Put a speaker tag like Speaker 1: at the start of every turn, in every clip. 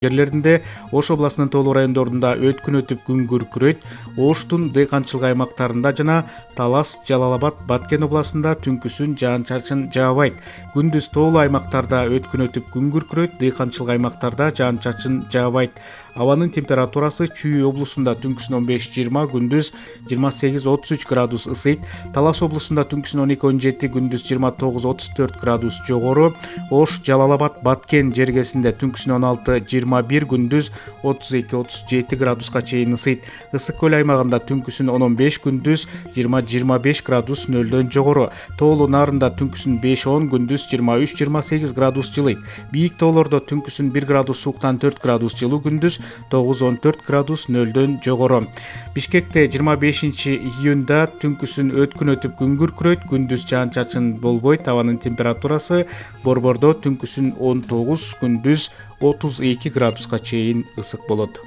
Speaker 1: жерлеринде, Ош областынын тоолуу райондорунда өткүн өтүп күн күркүрөйт. Оштун дыйканчылык аймактарында жана Талас, Жалал-Абад, Баткен областында түнкүсүн жаан-чачын жаабайт. Күндүз тоолуу аймактарда өткүн өтүп күн күркүрөйт, дыйканчылык аймактарда жаан-чачын жаабайт. Абанын температурасы Чүй облусунда түнкүсүн 15-20, күндүз 28-33 градус ысыйт. Талас облусунда түнкүсүн 12-17, күндүз 29-34 градус жогору. Ош, Жалал-Абад, Баткен жергесинде түнкүсүн 16-21, күндүз 32-37 градуска чейин ысыйт. Ысык көл аймагында түнкүсүн 10-15, күндүз 20-25 градус нөлдөн жогору. Тоолуу нарында түнкүсүн 5-10, күндүз 23-28 градус жылыйт. Бийик тоолордо түнкүсүн 1 градус сууктан 4 градус жылуу, күндүз 9-14 градус нөлдөн жогору. Бишкекте 25-июнда түнкүсүн өткүн өтүп күн күркүрөйт, күндүз жаан-чачын болбойт. Абанын температурасы Борбордо түнкүсүн 19, күндүз 32 градуска чейин ысык болот.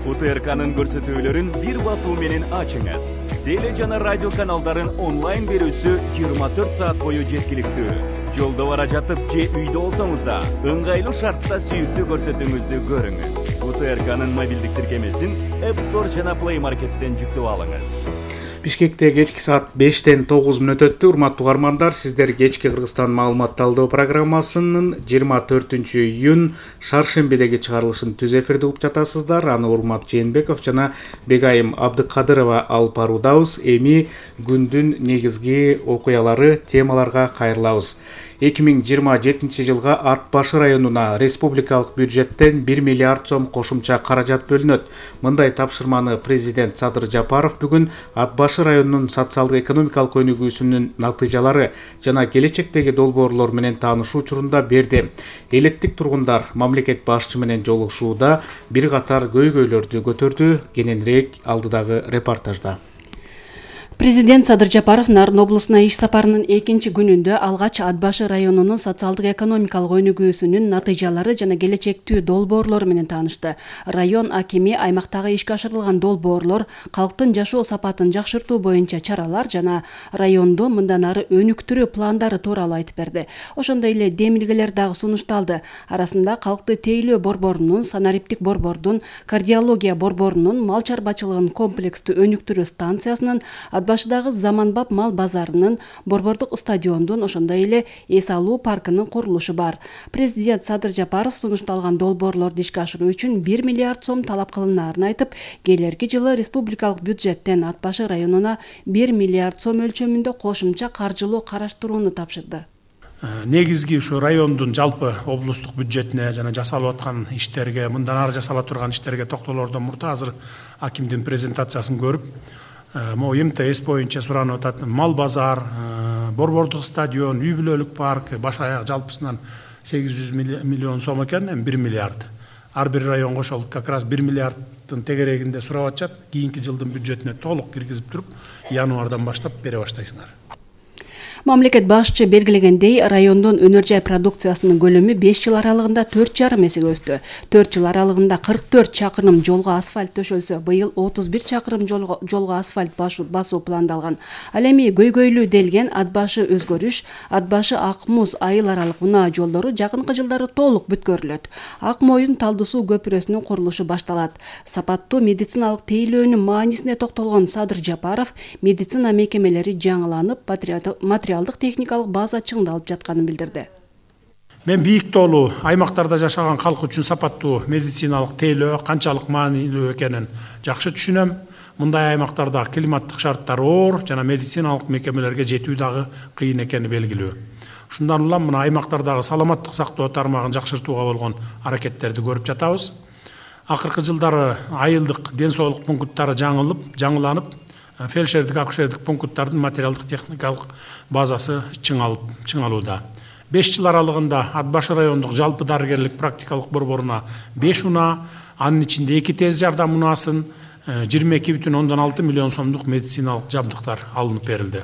Speaker 2: УТРКнын көрсөтүүлөрүн бир басуу менен ачыңыз. Теле жана радио каналдарын онлайн берүүсү 24 саат бою жеткиликтүү. Жолдо бара жатып же үйдө болсоңуз да ыңгайлуу шартта сүйүктүү көрсөтүүңүздү көрүңүз. УТРКнын мобилдик тиркемесин App Store жана Play Market'тен жүктөп алыңыз.
Speaker 1: Бишкекте кечки саат 5-9 өттү. Урматтуу угармандар, сиздер кечки Кыргызстан маалымат талдоо программасынын 24-июнь шаршембидеги чыгарылышын түз эфирде угуп жатасыздар. Аны Урмат Жээнбеков жана Бегайым Абдыкадырова алып баруудабыз. Эми күндүн негизги окуялары, темаларга кайрылабыз. 2027 жылга Ат Башы районуна республикалык бюджеттен 1 миллиард сом кошумча каражат бөлүнөт. Мындай тапшырманы президент Садыр Жапаров бүгүн Ат Башы районунун социалдык экономикалык өнүгүүсүнүн натыйжалары жана келечектеги долбоорлор менен таанышуу учурунда берди. Элеттик тургундар мамлекет башчы менен жолугушууда бир катар көйгөйлөрдү көтөрдү. Кененирээк алдыдагы репортажда.
Speaker 3: Президент Садыр Жапаров Нарын облусуна иш сапарынын 2-чи күнүндө алгач Ат Башы районунун социалдык экономикалык өнүгүүсүнүн натыйжалары жана келечектүү долбоорлору менен таанышты. Район акими аймактагы ишке ашырылган долбоорлор, калктын жашоо сапатын жакшыртуу боюнча чаралар жана районду мындан ары өнүктүрүү пландары тууралуу айтып берди. Ошондой эле демилгелер дагы сунушталды. Арасында калкты тейлөө борборунун, санариптик борбордун, кардиология борборунун, мал чарбачылыгын комплекстүү өнүктүрүү станциясынын, Ат Башыдагы заманбап мал базарынын, борбордук стадиондун, ошондой эле эс алуу паркынын курулушу бар. Президент Садыр Жапаров сунушталган долбоорлорду ишке ашыруу үчүн 1 миллиард сом талап кылынаарын айтып, келерки жылы республикалык бюджеттен Ат Башы районуна 1 миллиард сом өлчөмүндө кошумча каржылоо караштырууну тапшырды.
Speaker 4: Негизги ушу райондун жалпы облустук бюджетине жана жасалып аткан иштерге, мындан ары жасала турган иштерге токтолоордон мурда азыр акимдин презентациясын көрүп, могу МТС боюнча суранып атат. Мал базар, борбордук стадион, үй бүлөлүк парк баш аяк жалпысынан 800 миллион сом экен, 1 миллиард. Ар бир районго ошол как раз 1 миллиарддын тегерегинде сурап атышат. Кийинки жылдын бюджетине толук киргизип туруп, январдан баштап бере баштайсыңар.
Speaker 3: Мамлекет башчы белгилегендей, райондун өнөр жай продукциясынын көлөмү 5 жыл аралыгында 4,5 эсеге өстү. 4 жыл аралыгында 44 чакырым жолго асфальт төшөлсө, быйыл 31 чакырым жолго асфальт басуу пландалган. Ал эми көйгөйлүү делген Ат Башы өзгөрүш, Ат Башы Ак Муз айыл аралык унаа жолдору жакынкы жылдары толук бүткөрүлөт. Ак Моюн Талды суу көпүрөсүнүн курулушу башталат. Сапаттуу медициналык тейлөөнүн маанисине токтолгон Садыр Жапаров медицина мекемелери жаңыланып, материалдык техникалык база чыңдалып жатканын билдирди.
Speaker 4: Мен бийик тоолуу аймактарда жашаган калк үчүн сапаттуу медициналык тейлөө канчалык маанилүү экенин жакшы түшүнөм. Мындай аймактарда климаттык шарттар оор жана медициналык мекемелерге жетүү дагы кыйын экени белгилүү. Ушундан улам мына аймактардагы саламаттык сактоо тармагын жакшыртууга болгон аракеттерди көрүп жатабыз. Акыркы жылдары айылдык ден соолук пункттары жаңыланып, фельдшердик акушердик пункттардын материалдык техникалык базасы чыңалууда. 5 жыл аралыгында Ат Башы райондук жалпы дарыгерлик практикалык борборуна 5 унаа, анын ичинде 2 тез жардам унаасын, 22,6 миллион сомдук медициналык жабдыктар алынып берилди.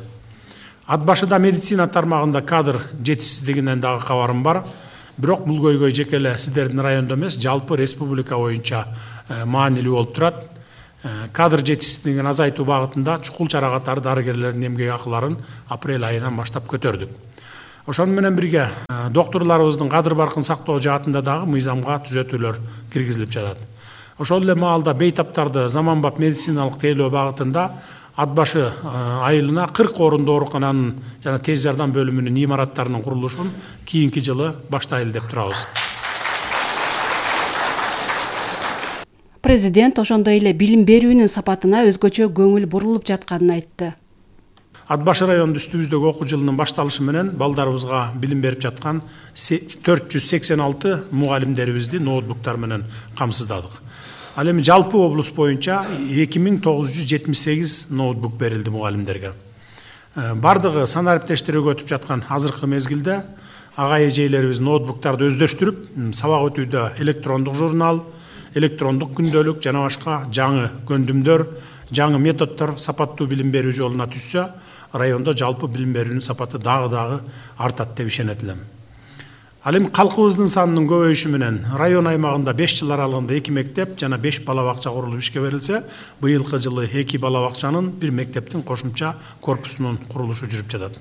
Speaker 4: Ат Башыда медицина тармагында кадр жетишсиздигинен дагы кабарым бар. Бирок бул көйгөй жеке эле сиздердин райондо эмес, жалпы республика боюнча маанилүү болуп турат. Кадр жетишсиздигин азайтуу багытында чукул чара катары дарыгерлердин эмгек акыларын апрель айынан баштап көтөрдүк. Ошону менен бирге доктурларыбыздын кадыр баркын сактоо жаатында дагы мыйзамга түзөтүүлөр киргизилип жатат. Ошол эле маалда бейтаптарды заманбап медициналык тейлөө багытында ат башы айылына 40 орундуу оорукананын жана тез жардам бөлүмүнүн имараттарынын курулушун кийинки жылы баштайлы деп турабыз.
Speaker 3: Президент ошондой эле билим берүүнүн сапатына өзгөчө көңүл бурулуп жатканын айтты.
Speaker 4: Ат башы районунун үстүбүздөгү окуу жылынын башталышы менен балдарыбызга билим берип жаткан 486 мугалимдерибизди ноутбуктар менен камсыздадык. Ал эми жалпы облус боюнча 2978 ноутбук берилди мугалимдерге. Бардыгы санариптештерге өтүп жаткан азыркы мезгилде ага эжейлерибиз ноутбуктарды өздөштүрүп, сабак өтүүдө электрондук журнал, электрондук күндөлүк жана башка жаңы көндүмдөр, жаңы методдор сапаттуу билим берүү жолуна түшсө, райондо жалпы билим берүүнүн сапаты дагы артат деп ишенет элем. Ал эми калкыбыздын санынын көбөйүшү менен район аймагында 5 жыл аралыгында 2 мектеп жана 5 бала бакча курулуп ишке берилсе, быйылкы жылы 2 бала бакчанын 1 мектептин кошумча корпусунун курулушу жүрүп жатат.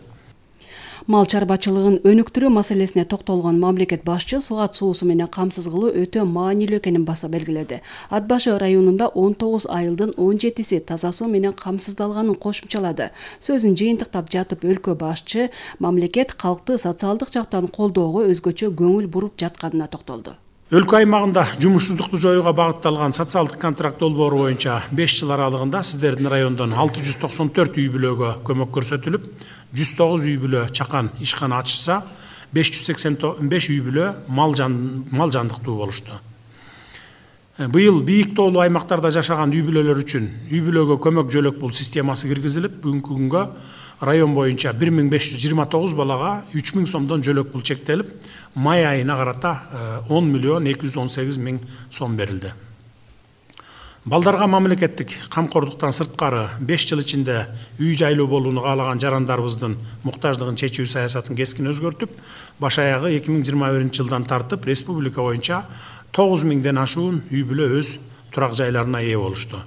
Speaker 3: Мал чарбачылыгын өнүктүрүү маселесине токтолгон мамлекет башчы сугат суусу менен камсыз кылуу өтө маанилүү экенин баса белгиледи. Ат башы районунда 19 айылдын 17си таза суу менен камсыздалганын кошумчалады. Сөзүн жыйынтыктап жатып өлкө башчы мамлекет калкты социалдык жактан колдоого өзгөчө көңүл буруп жатканына токтолду.
Speaker 4: Өлкө аймагында жумушсуздукту жоюуга багытталган социалдык контракт долбоору боюнча 5 жыл аралыгында сиздердин райондон 694 үй бүлөгө көмөк көрсөтүлүп, 109 үй бүлө чакан ишкана ачышса, 585 үй бүлө мал жандыктуу болушту. Быйыл бийик тоолуу аймактарда жашаган үй бүлөлөр үчүн үй бүлөгө көмөк жөлөк пул системасы киргизилип, бүгүнкү күнгө район боюнча 1529 балага 3000 сомдон жөлөк пул чектелип, май айына карата 10 миллион 218 миң сом берилди. Балдарга мамлекеттик камкордуктан сырткары 5 жыл ичинде үй жайлуу болууну каалаган жарандарыбыздын муктаждыгын чечүү саясатын кескин өзгөртүп, баш аягы 2021-жылдан тартып республика боюнча 9000ден ашуун үй бүлө өз турак жайларына ээ болушту.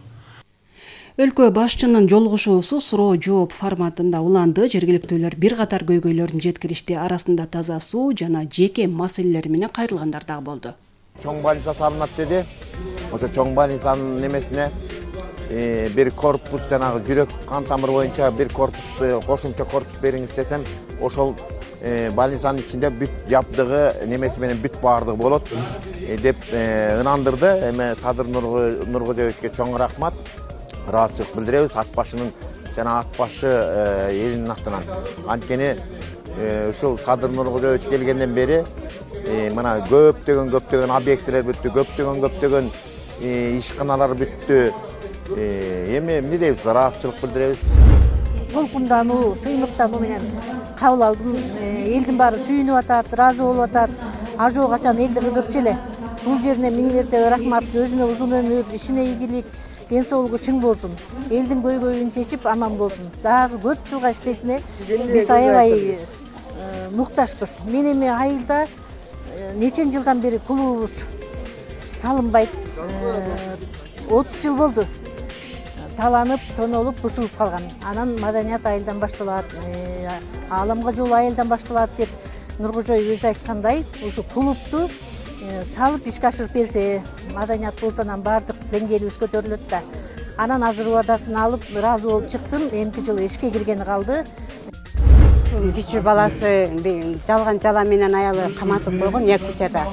Speaker 3: Өлкө башчынын жолугушуусу суроо жооп форматында уланды. Жергиликтүүлөр бир катар көйгөйлөрүн жеткиришти. Арасында таза суу жана жеке маселелер менен кайрылгандар дагы болду.
Speaker 5: Чоң больница салынат деди. Ошо чоң больницанын немесине бир корпус жанагы жүрөк кан тамыр боюнча бир корпус кошумча корпус бериңиз десем, ошол больницанын ичинде бүт жабдыгы немеси менен бүт баардыгы болот деп ынандырды. Эми Садыр Нуркожоевичке чоң рахмат. Ыраазычылык билдиребиз ат башынын жана ат башы элинин атынан. Анткени ушул Садыр Нуркожоевич келгенден бери мына көптөгөн объектилер бүттү, көптөгөн ишканалар бүттү. Эми эмне дейбиз, ыраазычылык билдиребиз.
Speaker 6: Толкундануу, сыймыктануу менен кабыл алдым. Элдин баары сүйүнүп атат, ыраазы болуп атат. Ажоо качан элди кыдырчу эле. Бул жерине миң мерте рахмат, өзүнө узун өмүр, ишине ийгилик, ден соолугу чың болсун. Элдин көйгөйүн чечип аман болсун. Дагы көп жылга иштешине биз аябай муктажбыз. Мен эми айылда нечен жылдан бери клубубуз салынбайт. 30 жыл болду. Таланып, тонолуп, бузулуп калган. Анан маданият айылдан башталат, ааламга жол айылдан башталат деп Нуркожоев өзү айткандай, ушу клубту салып ишке ашырып берсе, маданият болсо анан баардык деңгээлибиз көтөрүлөт да. Анан азыр убадасын алып, ыраазы болуп чыктым. Эмки жылы ишке киргени калды.
Speaker 7: Кичүү баласы жалган жала менен аялы каматып койгон Якутияда.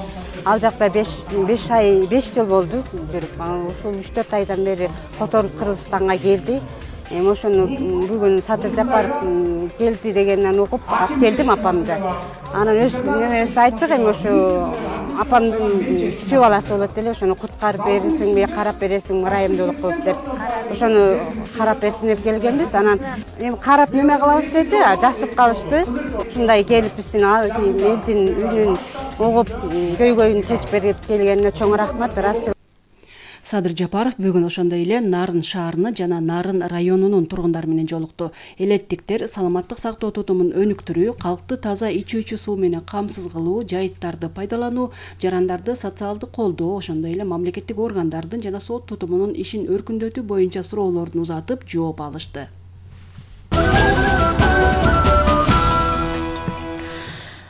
Speaker 7: Ал жакта 5 жыл болду. Ушул 3-4 айдан бери которуп Кыргызстанга келди. Ошону бүгүн Садыр Жапаров келди дегенден угуп, алып келдим апамды. Анан өз немеси айттык, эми ошо апамдын кичүү баласы болот эле, ошону куткарып берсиңби, карап бересиңби, ырайымдуулук кылып деп. Ошону карап берсин деп келгенбиз. Анан эми карап неме кылабыз деди, жасып калышты. Ушундай келип биздин элдин үнүн угуп, көйгөйүн чечип берип келгенине чоң рахмат.
Speaker 3: Садыр Жапаров бүгүн ошондой эле Нарын шаарыны жана Нарын районунун тургундары менен жолукту. Элеттиктер саламаттык сактоо тутумун өнүктүрүү, калкты таза ичүүчү суу менен камсыз кылуу, жайыттарды пайдалануу, жарандарды социалдык колдоо, ошондой эле мамлекеттик органдардын жана сот тутумунун ишин өркүндөтүү боюнча суроолорун узатып, жооп алышты.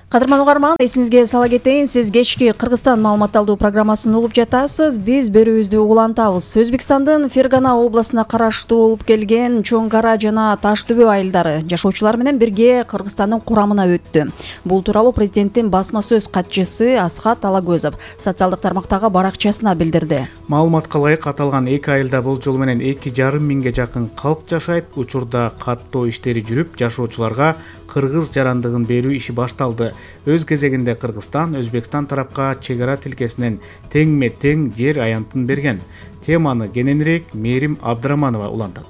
Speaker 8: Кадырман угарман, эсиңизге сала кетейин, сиз кечки Кыргызстан маалымат алуу программасын угуп жатасыз. Биз берүүбүздү улантабыз. Өзбекстандын Фергана областына караштуу болуп келген Чоң Кара жана Таш төбө айылдары жашоочулар менен бирге Кыргызстандын курамына өттү. Бул тууралуу президенттин басма сөз катчысы Асхат Алагөзов социалдык тармактагы баракчасына билдирди.
Speaker 1: Маалыматка ылайык аталган эки айылда бул жолу менен 2,5 миңге жакын калк жашайт. Учурда каттоо иштери жүрүп, жашоочуларга кыргыз жарандыгын берүү иши башталды. Өз кезегинде Кыргызстан Өзбекстан тарапка чек ара тилкесинен теңме-тең жер аянтын берген. Теманы кененирээк Мээрим Абдыраманова улантат.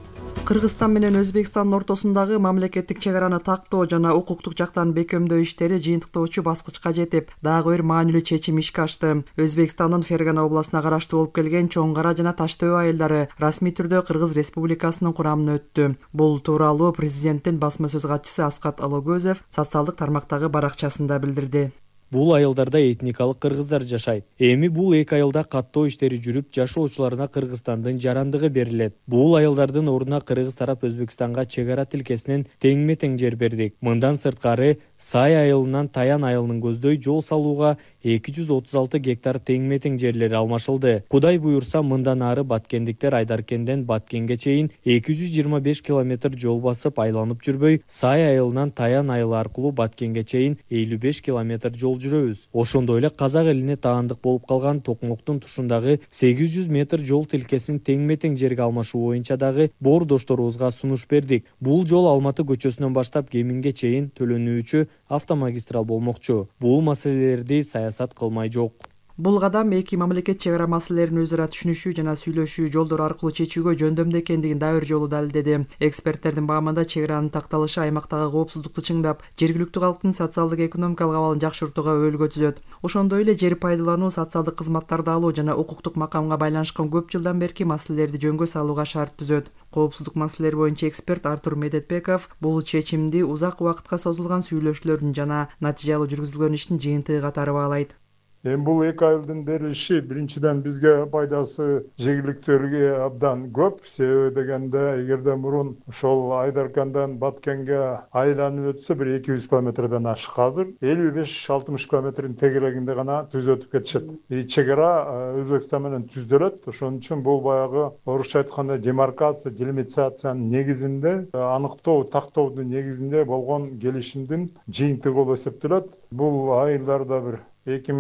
Speaker 9: Кыргызстан менен Өзбекстандын ортосундагы мамлекеттик чек араны тактоо жана укуктук жактан бекемдөө иштери жыйынтыктоочу баскычка жетип, дагы бир маанилүү чечим ишке ашты. Өзбекстандын Фергана областына караштуу болуп келген Чоң Кара жана Таш төбө айылдары расмий түрдө Кыргыз Республикасынын курамына өттү. Бул тууралуу президенттин басма сөз катчысы Асхат Алагөзов социалдык тармактагы баракчасында билдирди.
Speaker 10: Бул айылдарда этникалык кыргыздар жашайт. Эми бул эки айылда каттоо иштери жүрүп, жашоочуларына Кыргызстандын жарандыгы берилет. Бул айылдардын ордуна кыргыз тарап Өзбекстанга чек ара тилкесинен теңме-тең жер бердик. Мындан сырткары Сай айылынан Таян айылынын көздөй жол салууга 236 гектар теңме-тең жерлери алмашылды. Кудай буюрса, мындан ары баткендиктер Айдаркенден Баткенге чейин 225 километр жол басып айланып жүрбөй, Сай айылынан Таян айылы аркылуу Баткенге чейин 55 километр жол жүрөбүз. Ошондой эле казак элине таандык болуп калган Токмоктун тушундагы 800 метр жол тилкесин теңме-тең жерге алмашуу боюнча дагы боордошторубузга сунуш бердик. Бул жол Алматы көчөсүнөн баштап Кеминге чейин төлөнүүчү автомагистрал болмокчу. Бул маселелерди саясат кылмай жок.
Speaker 9: Бул кадам эки мамлекет чек ара маселелерин өзара түшүнүшүү жана сүйлөшүү жолдору аркылуу чечүүгө жөндөмдүү экендигин дагы бир жолу далилдеди. Эксперттердин баамында чек аранын такталышы аймактагы коопсуздукту чыңдап, жергиликтүү калктын социалдык экономикалык абалын жакшыртууга өбөлгө түзөт. Ошондой эле жер пайдалануу, социалдык кызматтарды алуу жана укуктук макамга байланышкан көп жылдан берки маселелерди жөнгө салууга шарт түзөт. Коопсуздук маселелери боюнча эксперт Артур Медетбеков бул чечимди узак убакытка созулган сүйлөшүүлөрдүн жана натыйжалуу жүргүзүлгөн иштин жыйынтыгы катары баалайт.
Speaker 11: Бул эки айылдын берилиши биринчиден бизге пайдасы жергиликтүүлөргө абдан көп. Себеби дегенде эгерде мурун ошол Айдаркандан Баткенге айланып өтсө бир 200 километрден ашык, азыр 55-60 километрдин тегерегинде гана түз өтүп кетишет. Чек ара Өзбекстан менен түздөлөт. Ошон үчүн бул баягы орусча айтканда демаркация, делимитациянын негизинде, аныктоо, тактоодун негизинде болгон келишимдин жыйынтыгы болуп эсептелет. Бул айылдарда бир 2,5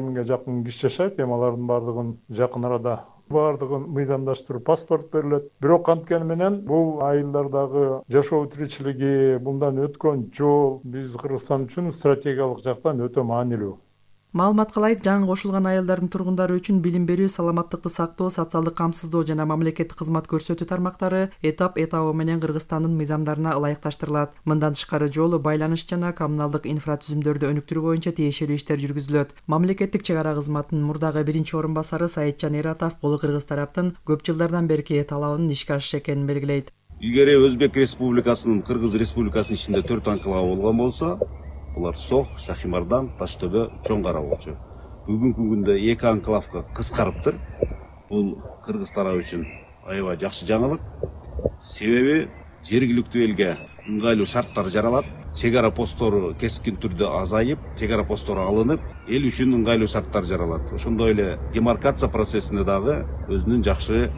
Speaker 11: миңге жакын киши жашайт. Алардын баардыгын жакын арада баардыгын мыйзамдаштырып паспорт берилет. Бирок анткени менен бул айылдардагы жашоо тиричилиги, мындан өткөн жол биз Кыргызстан үчүн стратегиялык жактан өтө маанилүү.
Speaker 9: Маалыматка ылайык, жаңы кошулган айылдардын тургундары үчүн билим берүү, саламаттыкты сактоо, социалдык камсыздоо жана мамлекеттик кызмат көрсөтүү тармактары этап менен Кыргызстандын мыйзамдарына ылайыкташтырылат. Мындан тышкары жолу, байланыш жана коммуналдык инфратүзүмдөрдү өнүктүрүү боюнча тиешелүү иштер жүргүзүлөт. Мамлекеттик чек ара кызматынын мурдагы биринчи орун басары Саитжан Эратов бул кыргыз тараптын көп жылдардан берки талабынын ишке ашышы экенин белгилейт.
Speaker 12: Илгери Өзбек Республикасынын Кыргыз Республикасынын ичинде 4 анклавы болгон болсо, булар Сох, Шахимардан, Таш төбө, Чоң Кара болчу. Бүгүнкү күндө эки анклавга кыскарыптыр. Бул кыргыз тарабы үчүн аябай жакшы жаңылык. Себеби жергиликтүү элге ыңгайлуу шарттар жаралат. Чек ара посттору кескин түрдө азайып, чек ара посттору алынып, эл үчүн ыңгайлуу шарттар жаралат. Ошондой эле демаркация процессине дагы өзүнүн жакшы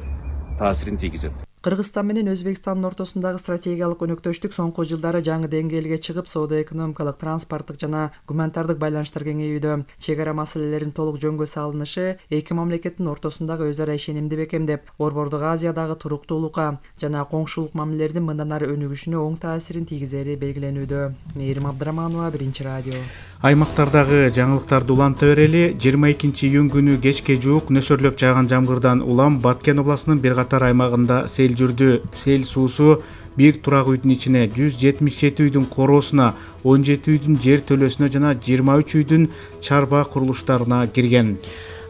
Speaker 12: таасирин тийгизет.
Speaker 9: Кыргызстан менен Өзбекстандын ортосундагы стратегиялык өнөктөштүк соңку жылдары жаңы деңгээлге чыгып, соода-экономикалык, транспорттук жана гуманитардык байланыштар кеңейүүдө. Чек ара маселелеринин толук жөнгө салынышы эки мамлекеттин ортосундагы өз ара ишенимди бекемдеп, Борбордук Азиядагы туруктуулукка жана коңшулук мамилелердин мындан ары өнүгүшүнө оң таасирин тийгизери белгиленүүдө. Мээрим Абдыраманова, Биринчи радио.
Speaker 1: Аймактардагы жаңылыктарды уланта берели. 22-июнь күнү кечке жуук нөсөрлөп жааган жамгырдан улам Баткен областынын бир катар аймагында сел жүрдү. Сел суусу бир турак үйдүн ичине, 177 үйдүн короосуна, 17 үйдүн жер төлөсүнө жана 23 үйдүн чарба курулуштарына кирген.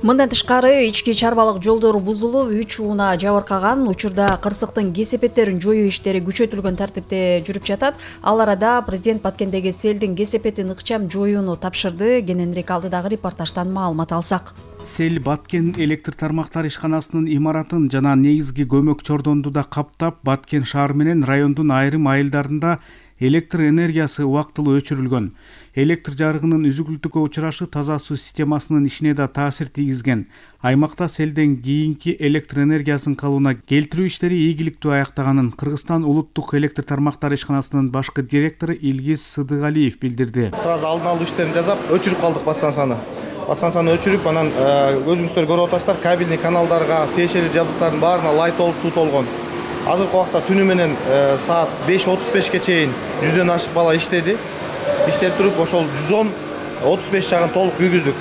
Speaker 8: Мындан тышкары ички чарбалык жолдор бузулуп, 3 ууна жабыркаган. Учурда кырсыктын кесепеттерин жоюу иштери күчөтүлгөн тартипте жүрүп жатат. Ал арада президент Баткендеги селдин кесепетин ыкчам жоюуну тапшырды. Кененирээк алдыдагы репортаждан маалымат алсак.
Speaker 1: Сел Баткен электр тармактар ишканасынын имаратын жана негизги көмөк чордонду да каптап, Баткен шаары менен райондун айрым айылдарында электр энергиясы убактылуу өчүрүлгөн. Электр жарыгынын үзүлгүлтүккө учурашы таза суу системасынын ишине да таасир тийгизген. Аймакта селден кийинки электр энергиясын калыбына келтирүү иштери ийгиликтүү аяктаганын Кыргызстан улуттук электр тармактары ишканасынын башкы директору Илгиз Сыдыгалиев билдирди.
Speaker 13: Сразу алдын алуу иштерин жасап, өчүрүп калдык бассансаны өчүрүп, анан өзүңүздөр көрүп атасыздар, кабельный каналдарга, тиешелүү жабдыктардын баарына лай толуп суу толгон. Азыркы убакта түнү менен саат 5:35ке чейин 100дөн ашык бала иштеди. Иштеп туруп, ошол 110-35 жагын толук күйгүздүк.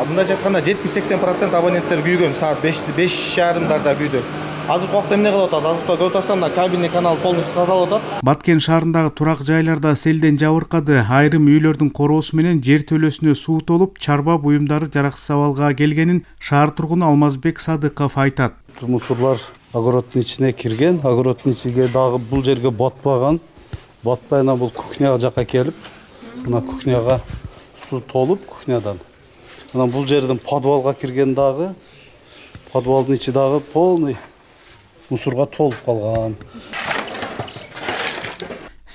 Speaker 13: Мындайча айтканда 70-80% абоненттер күйгөн, саат 5:30-дарда күйдү. Азыркы убакта эмне кылып атат? Азыркы көрүп атасыздар, кабельный канал полностью тазалап атат.
Speaker 1: Баткен шаарындагы турак жайларда селден жабыркады. Айрым үйлөрдүн короосу менен жер төлөсүнө суу толуп, чарба буюмдары жараксыз абалга келгенин шаар тургуну Алмазбек Садыков айтат.
Speaker 14: Мусорлар огороддун ичине кирген, огороддун ичиге дагы бул жерге батпаган. Батпай ана бул кухняга жакка келип, мына кухняга суу толуп кухнядан. Анан бул жерден подвалга кирген дагы, подвалдын ичи дагы полный мусорго толуп калган.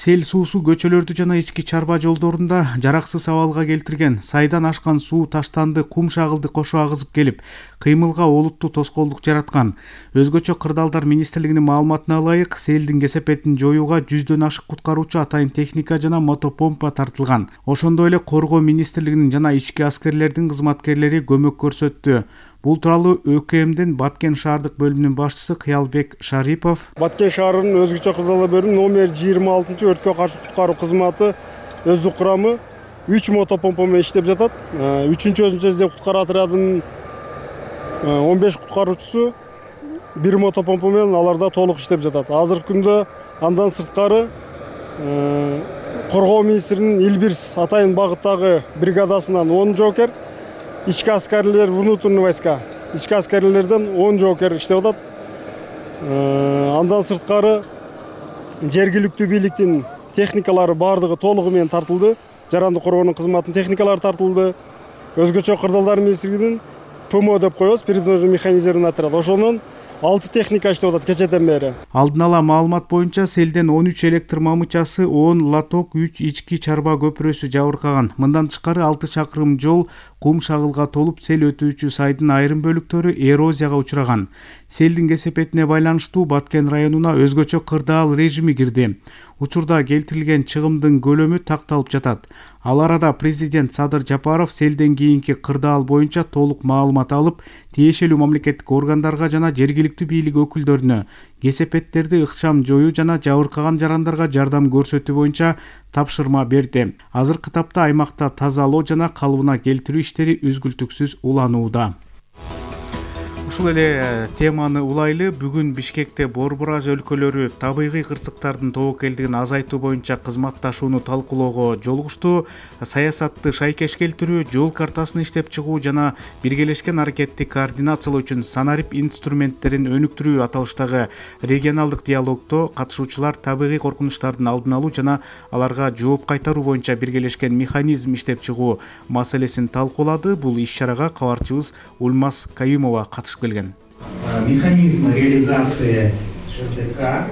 Speaker 1: Сел суусу көчөлөрдү жана ички чарба жолдорунда жараксыз абалга келтирген. Сайдан ашкан суу таштанды, кум шагылды кошо агызып келип, кыймылга олуттуу тоскоолдук жараткан. Өзгөчө Кырдаалдар министрлигинин маалыматына ылайык, селдин кесепетин жоюуга 100дөн ашык куткаруучу атайын техника жана мотопомпа тартылган. Ошондой эле Коргоо министрлигинин жана ички аскерлердин кызматкерлери көмөк көрсөттү. Бул тууралуу ÖKMдин Баткен шаардык бөлүмүнүн башчысы Кыялбек Шарипов.
Speaker 15: Баткен шаарынын өзгөчө Кырдаалдар бөлүмү номер 26 өрткө каршы куткаруу кызматы өздүк курамы 3 мотопомпа менен иштеп жатат. 3-чү өзүнчө издеп куткаруу отрядынын 15 куткаруучусу 1 мотопомпа менен аларда толук иштеп жатат. Азыркы күндө андан сырткары Коргоо министринин Илбирс атайын багыттагы бригадасынан 10 жоокер, ички аскерлер, внутренний войска, ички аскерлерден 10 жоокер иштеп атат. Андан сырткары жергиликтүү бийликтин техникалары баардыгы толугу менен тартылды. Жарандык коргоонун кызматынын техникалары тартылды. Өзгөчө Кырдаалдар министрлигинин ПМО деп коебуз, передвижный механизированный отряд. Ошонун 6 техника иштеп атат кечеден бери.
Speaker 1: Алдын ала маалымат боюнча селден 13 электр мамычасы, 10 лоток, 3 ички чарба көпүрөсү жабыркаган. Мындан тышкары 6 чакырым жол кум шагылга толуп, сел өтүүчү сайдын айрым бөлүктөрү эрозияга учураган. Селдин кесепетине байланыштуу Баткен районуна өзгөчө кырдаал режими кирди. Учурда келтирилген чыгымдын көлөмү такталып жатат. Ал арада президент Садыр Жапаров селден кийинки кырдаал боюнча толук маалымат алып, тиешелүү мамлекеттик органдарга жана жергиликтүү бийлик өкүлдөрүнө кесепеттерди ыкчам жоюу жана жабыркаган жарандарга жардам көрсөтүү боюнча тапшырма берди. Азыркы тапта аймакта тазалоо жана калыбына келтирүү иштери үзгүлтүксүз уланууда. Ушул эле теманы улайлы, бүгүн Бишкекте Борбор Азия өлкөлөрү табигый кырсыктардын тобокелдигин азайтуу боюнча кызматташууну талкуулоого жолугушту. Саясатты шайкеш келтирүү, жол картасын иштеп чыгуу жана биргелешкен аракетти координациялоо үчүн санарип инструменттерин өнүктүрүү аталыштагы регионалдык диалогдо катышуучулар табигый коркунучтардын алдын алуу жана аларга жооп кайтаруу боюнча биргелешкен механизм иштеп чыгуу маселесин талкуулады. Бул иш-чарага кабарчыбыз Ульмаз Каюмова катышып келген.
Speaker 16: Механизм реализации ШТК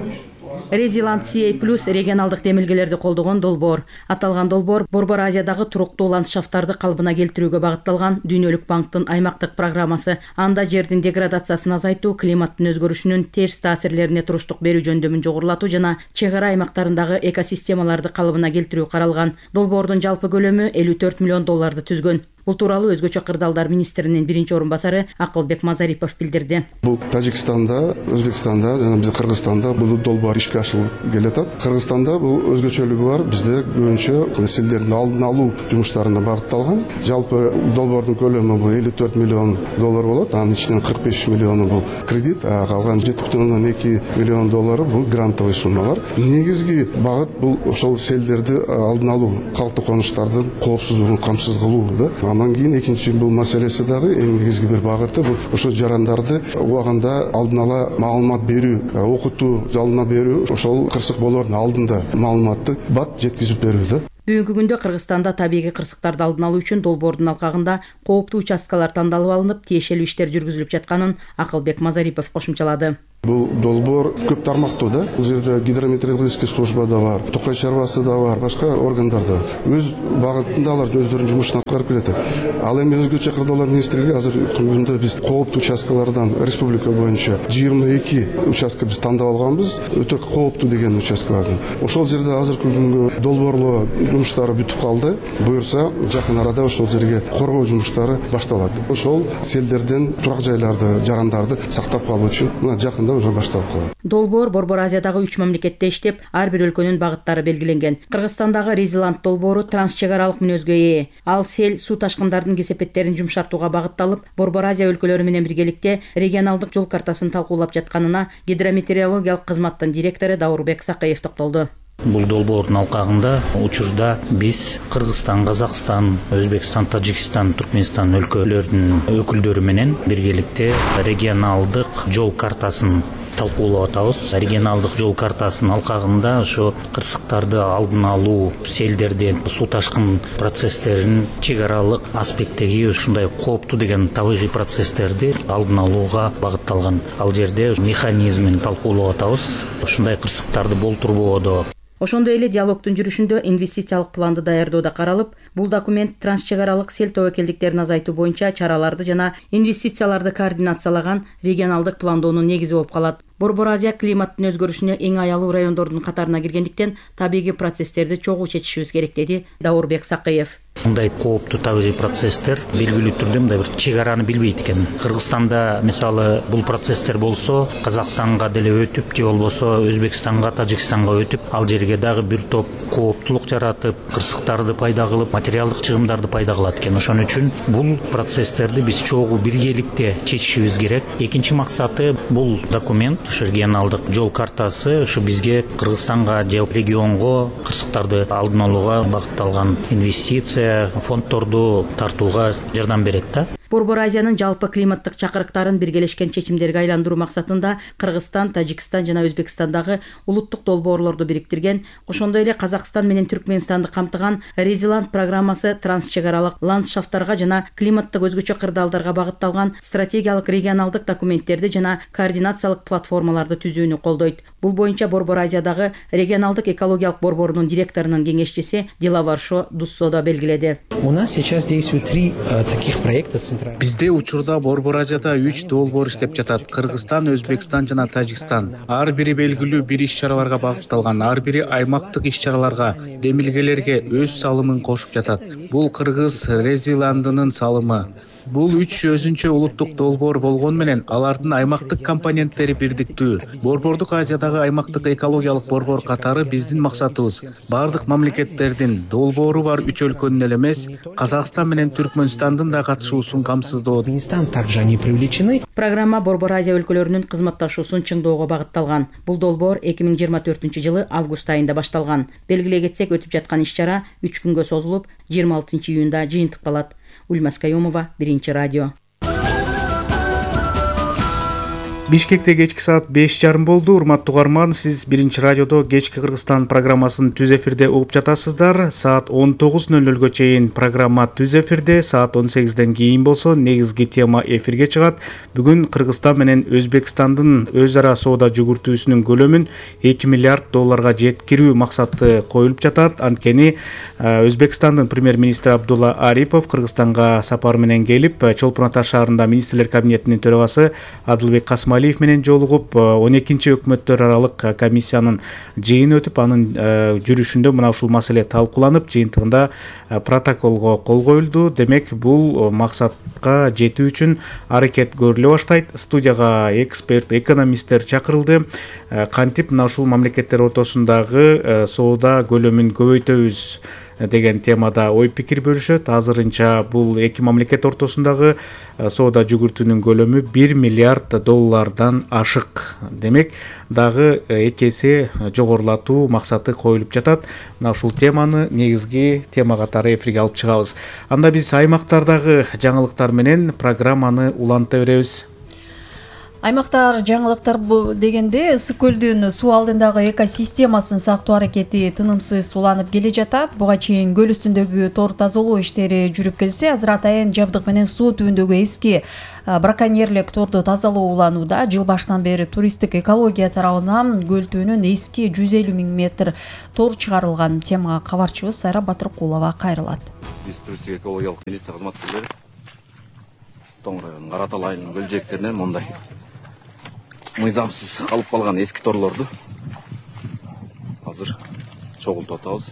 Speaker 17: Резилант CA+ регионалдык демилгелерди колдогон долбоор. Аталган долбоор Борбор Азиядагы туруктуу ландшафттарды калыбына келтирүүгө багытталган Дүйнөлүк банктын аймактык программасы. Анда жердин деградациясын азайтуу, климаттын өзгөрүшүнүн терс таасирлерине туруштук берүү жөндөмүн жогорулатуу жана чек ара аймактарындагы экосистемаларды калыбына келтирүү каралган. Долбоордун жалпы көлөмү $54 миллион түзгөн. Бул тууралуу өзгөчө Кырдаалдар министринин биринчи орун басары Акылбек Мазарипов билдирди.
Speaker 18: Бул Тажикстанда, Өзбекстанда жана биздин Кыргызстанда бул долбоор ишке ашырылып келатат. Кыргызстанда бул өзгөчөлүгү бар. Бизде көбүнчө селдердин алдын алуу жумуштарына багытталган. Жалпы долбоордун көлөмү бул $54 миллион болот. Анын ичинен 45 миллиону бул кредит, калган $7,2 миллион бул грантовый суммалар. Негизги багыт бул ошол селдерди алдын алуу, калктуу конуштардын коопсуздугун камсыз кылуу. Андан кийин экинчи бул маселеси дагы эң негизги бир багыты бул ошо жарандарды убагында алдын ала маалымат берүү, окутуу, алдына берүү, ошол кырсык болоордун алдында маалыматты бат жеткизип берүү.
Speaker 17: Бүгүнкү күндө Кыргызстанда табигый кырсыктарды алдын алуу үчүн долбоордун алкагында кооптуу участкалар тандалып алынып, тиешелүү иштер жүргүзүлүп жатканын Акылбек Мазарипов кошумчалады.
Speaker 18: Бул долбоор көп тармактуу да. Бул жерде гидрометеорологический служба да бар, Токай чарбасы да бар, башка органдар да. Өз багытында алар өздөрүнүн жумушун аткарып келет. Ал эми өзгөчө кырдаалар министрлиги азыр күндө биз кооптуу участкалардан республика боюнча 22 участка биз тандап алганбыз, өтө кооптуу деген участкаларды. Ошол жерде азыркы күнгө долбоорлоо жумуштары бүтүп калды. Буюрса жакын арада ошол жерге коргоо жумуштары башталат. Ошол селдерден турак жайларды, жарандарды сактап калуу үчүн мына жакында уже башталып калат.
Speaker 17: Долбоор Борбор Азиядагы 3 мамлекетте иштеп, ар бир өлкөнүн багыттары белгиленген. Кыргызстандагы Резиланд долбоору трансчек аралык мүнөзгө ээ. Ал сел, суу ташкындардын кесепеттерин жумшартууга багытталып, Борбор Азия өлкөлөрү менен биргеликте регионалдык жол картасын талкуулап жатканына гидрометеорологиялык кызматтын директору Даурбек Сакыев токтолду.
Speaker 19: Бул долбоордун алкагында учурда биз Кыргызстан, Казакстан, Өзбекстан, Тажикстан, Туркменстан өлкөлөрүнүн өкүлдөрү менен биргеликте регионалдык жол картасын талкуулап атабыз. Регионалдык жол картасынын алкагында ошо кырсыктарды алдын алуу, селдерден суу ташкын процесстеринин чек аралык аспекттеги ушундай кооптуу деген табигый процесстерди алдын алууга багытталган. Ал жерде механизмин талкуулап атабыз. Ушундай кырсыктарды болтурбоодо.
Speaker 17: Ошондой эле диалогдун жүрүшүндө инвестициялык планды даярдоо да каралып, бул документ трансчек аралык сел тобокелдиктерин азайтуу боюнча чараларды жана инвестицияларды координациялаган регионалдык пландоонун негизи болуп калат. Борбор Азия климаттын өзгөрүшүнө эң аялуу райондордун катарына киргендиктен табигый процесстерди чогуу чечишибиз керек, деди Даурбек Сакыев.
Speaker 19: Мындай кооптуу табигый процесстер белгилүү түрдө мындай бир чек араны билбейт экен. Кыргызстанда мисалы бул процесстер болсо, Казакстанга деле өтүп, же болбосо Өзбекстанга, Тажикстанга өтүп, ал жерге дагы бир топ кооптулук жаратып, кырсыктарды пайда кылып, материалдык чыгымдарды пайда кылат экен. Ошон үчүн бул процесстерди биз чогуу биргеликте чечишибиз керек. Экинчи максаты бул документ, ушу регионалдык жол картасы ушу бизге Кыргызстанга же регионго кырсыктарды алдын алууга багытталган инвестиция фонддорду тартууга жардам берет да.
Speaker 17: Борбор Азиянын жалпы климаттык чакырыктарын биргелешкен чечимдерге айландыруу максатында Кыргызстан, Тажикстан жана Өзбекстандагы улуттук долбоорлорду бириктирген, ошондой эле Казакстан менен Түркмөнстанды камтыган Резиланд программасы трансчек аралык ландшафттарга жана климаттык өзгөчө кырдаалдарга багытталган стратегиялык регионалдык документтерди жана координациялык платформаларды түзүүнү колдойт. Бул боюнча Борбор Азиядагы регионалдык экологиялык борборунун директорунун кеңешчиси Дилаваршо Дуссодо белгиледи.
Speaker 20: У нас сейчас действует 3 таких проекта.
Speaker 1: Бизде учурда Борбор Азияда 3 долбоор иштеп жатат. Кыргызстан, Өзбекстан жана Тажикстан. Ар бири белгилүү бир иш-чараларга багытталган, ар бири аймактык иш-чараларга, демилгелерге өз салымын кошуп жатат. Бул Кыргыз Резиландынын салымы. Бул 3 өзүнчө улуттук долбоор болгон менен алардын аймактык компоненттери бирдиктүү. Борбордук Азиядагы аймактык экологиялык борбор катары биздин максатыбыз бардык мамлекеттердин долбоору бар 3 өлкөнүн эле эмес, Казакстан менен Түркмөнстандын да катышуусун камсыздоо.
Speaker 20: Также они привлечены.
Speaker 17: Программа Борбор Азия өлкөлөрүнүн кызматташуусун чыңдоого багытталган. Бул долбоор 2024-жылы август айында башталган. Белгилей кетсек, өтүп жаткан иш-чара 3 күнгө созулуп, 26 июнда жыйынтыкталат. Ульмас Каюмова, Биринчи радио.
Speaker 1: Бишкекте кечки саат 5:30 болду. Урматтуу угарман, сиз Биринчи радиодо кечки Кыргызстан программасын түз эфирде угуп жатасыздар. Саат 19:00 чейин программа түз эфирде, саат 18-ден кийин болсо негизги тема эфирге чыгат. Бүгүн Кыргызстан менен Өзбекстандын өз ара соода жүгүртүүсүнүн көлөмүн $2 миллиард жеткирүү максаты коюлуп жатат. Анткени Өзбекстандын премьер-министри Абдулла Арипов Кыргызстанга сапар менен келип, Чолпон Ата шаарында министрлер кабинетинин төрагасы Адылбек Касмалиев менен жолугуп 12-чи өкмөттөр аралык комиссиянын жыйыны өтүп, анын жүрүшүндө мына ушул маселе талкууланып, жыйынтыгында протоколго кол коюлду. Демек, бул максатка жетүү үчүн аракет көрүлө баштайт. Студияга эксперт, экономисттер чакырылды. Кантип мына ушул мамлекеттер ортосундагы соода көлөмүн көбөйтөбүз деген темада ой пикир бөлүшөт. Азырынча бул эки мамлекет ортосундагы соода жүгүртүүнүн көлөмү $1 миллиард ашык. Демек, дагы 2 эсе жогорулатуу максаты коюлуп жатат. Мына ушул теманы негизги тема катары эфирге алып чыгабыз. Анда биз аймактардагы жаңылыктар менен программаны уланта беребиз.
Speaker 8: Аймактар жаңылыктар дегенде ысык көлдүн суу алдындагы экосистемасын сактоо аракети тынымсыз уланып келе жатат. Буга чейин көл үстүндөгү тор тазалоо иштери жүрүп келсе, азыр атайын жабдык менен суу түбүндөгү эски браконьерлик торду тазалоо уланууда. Жыл башынан бери туристтик экология тарабынан көл түбүнөн эски 150 000 метр тор чыгарылган. Темага кабарчыбыз Сайра Батыркулова кайрылат.
Speaker 21: Биз туристтик экологиялык милиция кызматкерлери Тоң районунун Каратал айылынын көл жээктеринен мындай мыйзамсыз калып калган эски торлорду азыр чогултуп атабыз.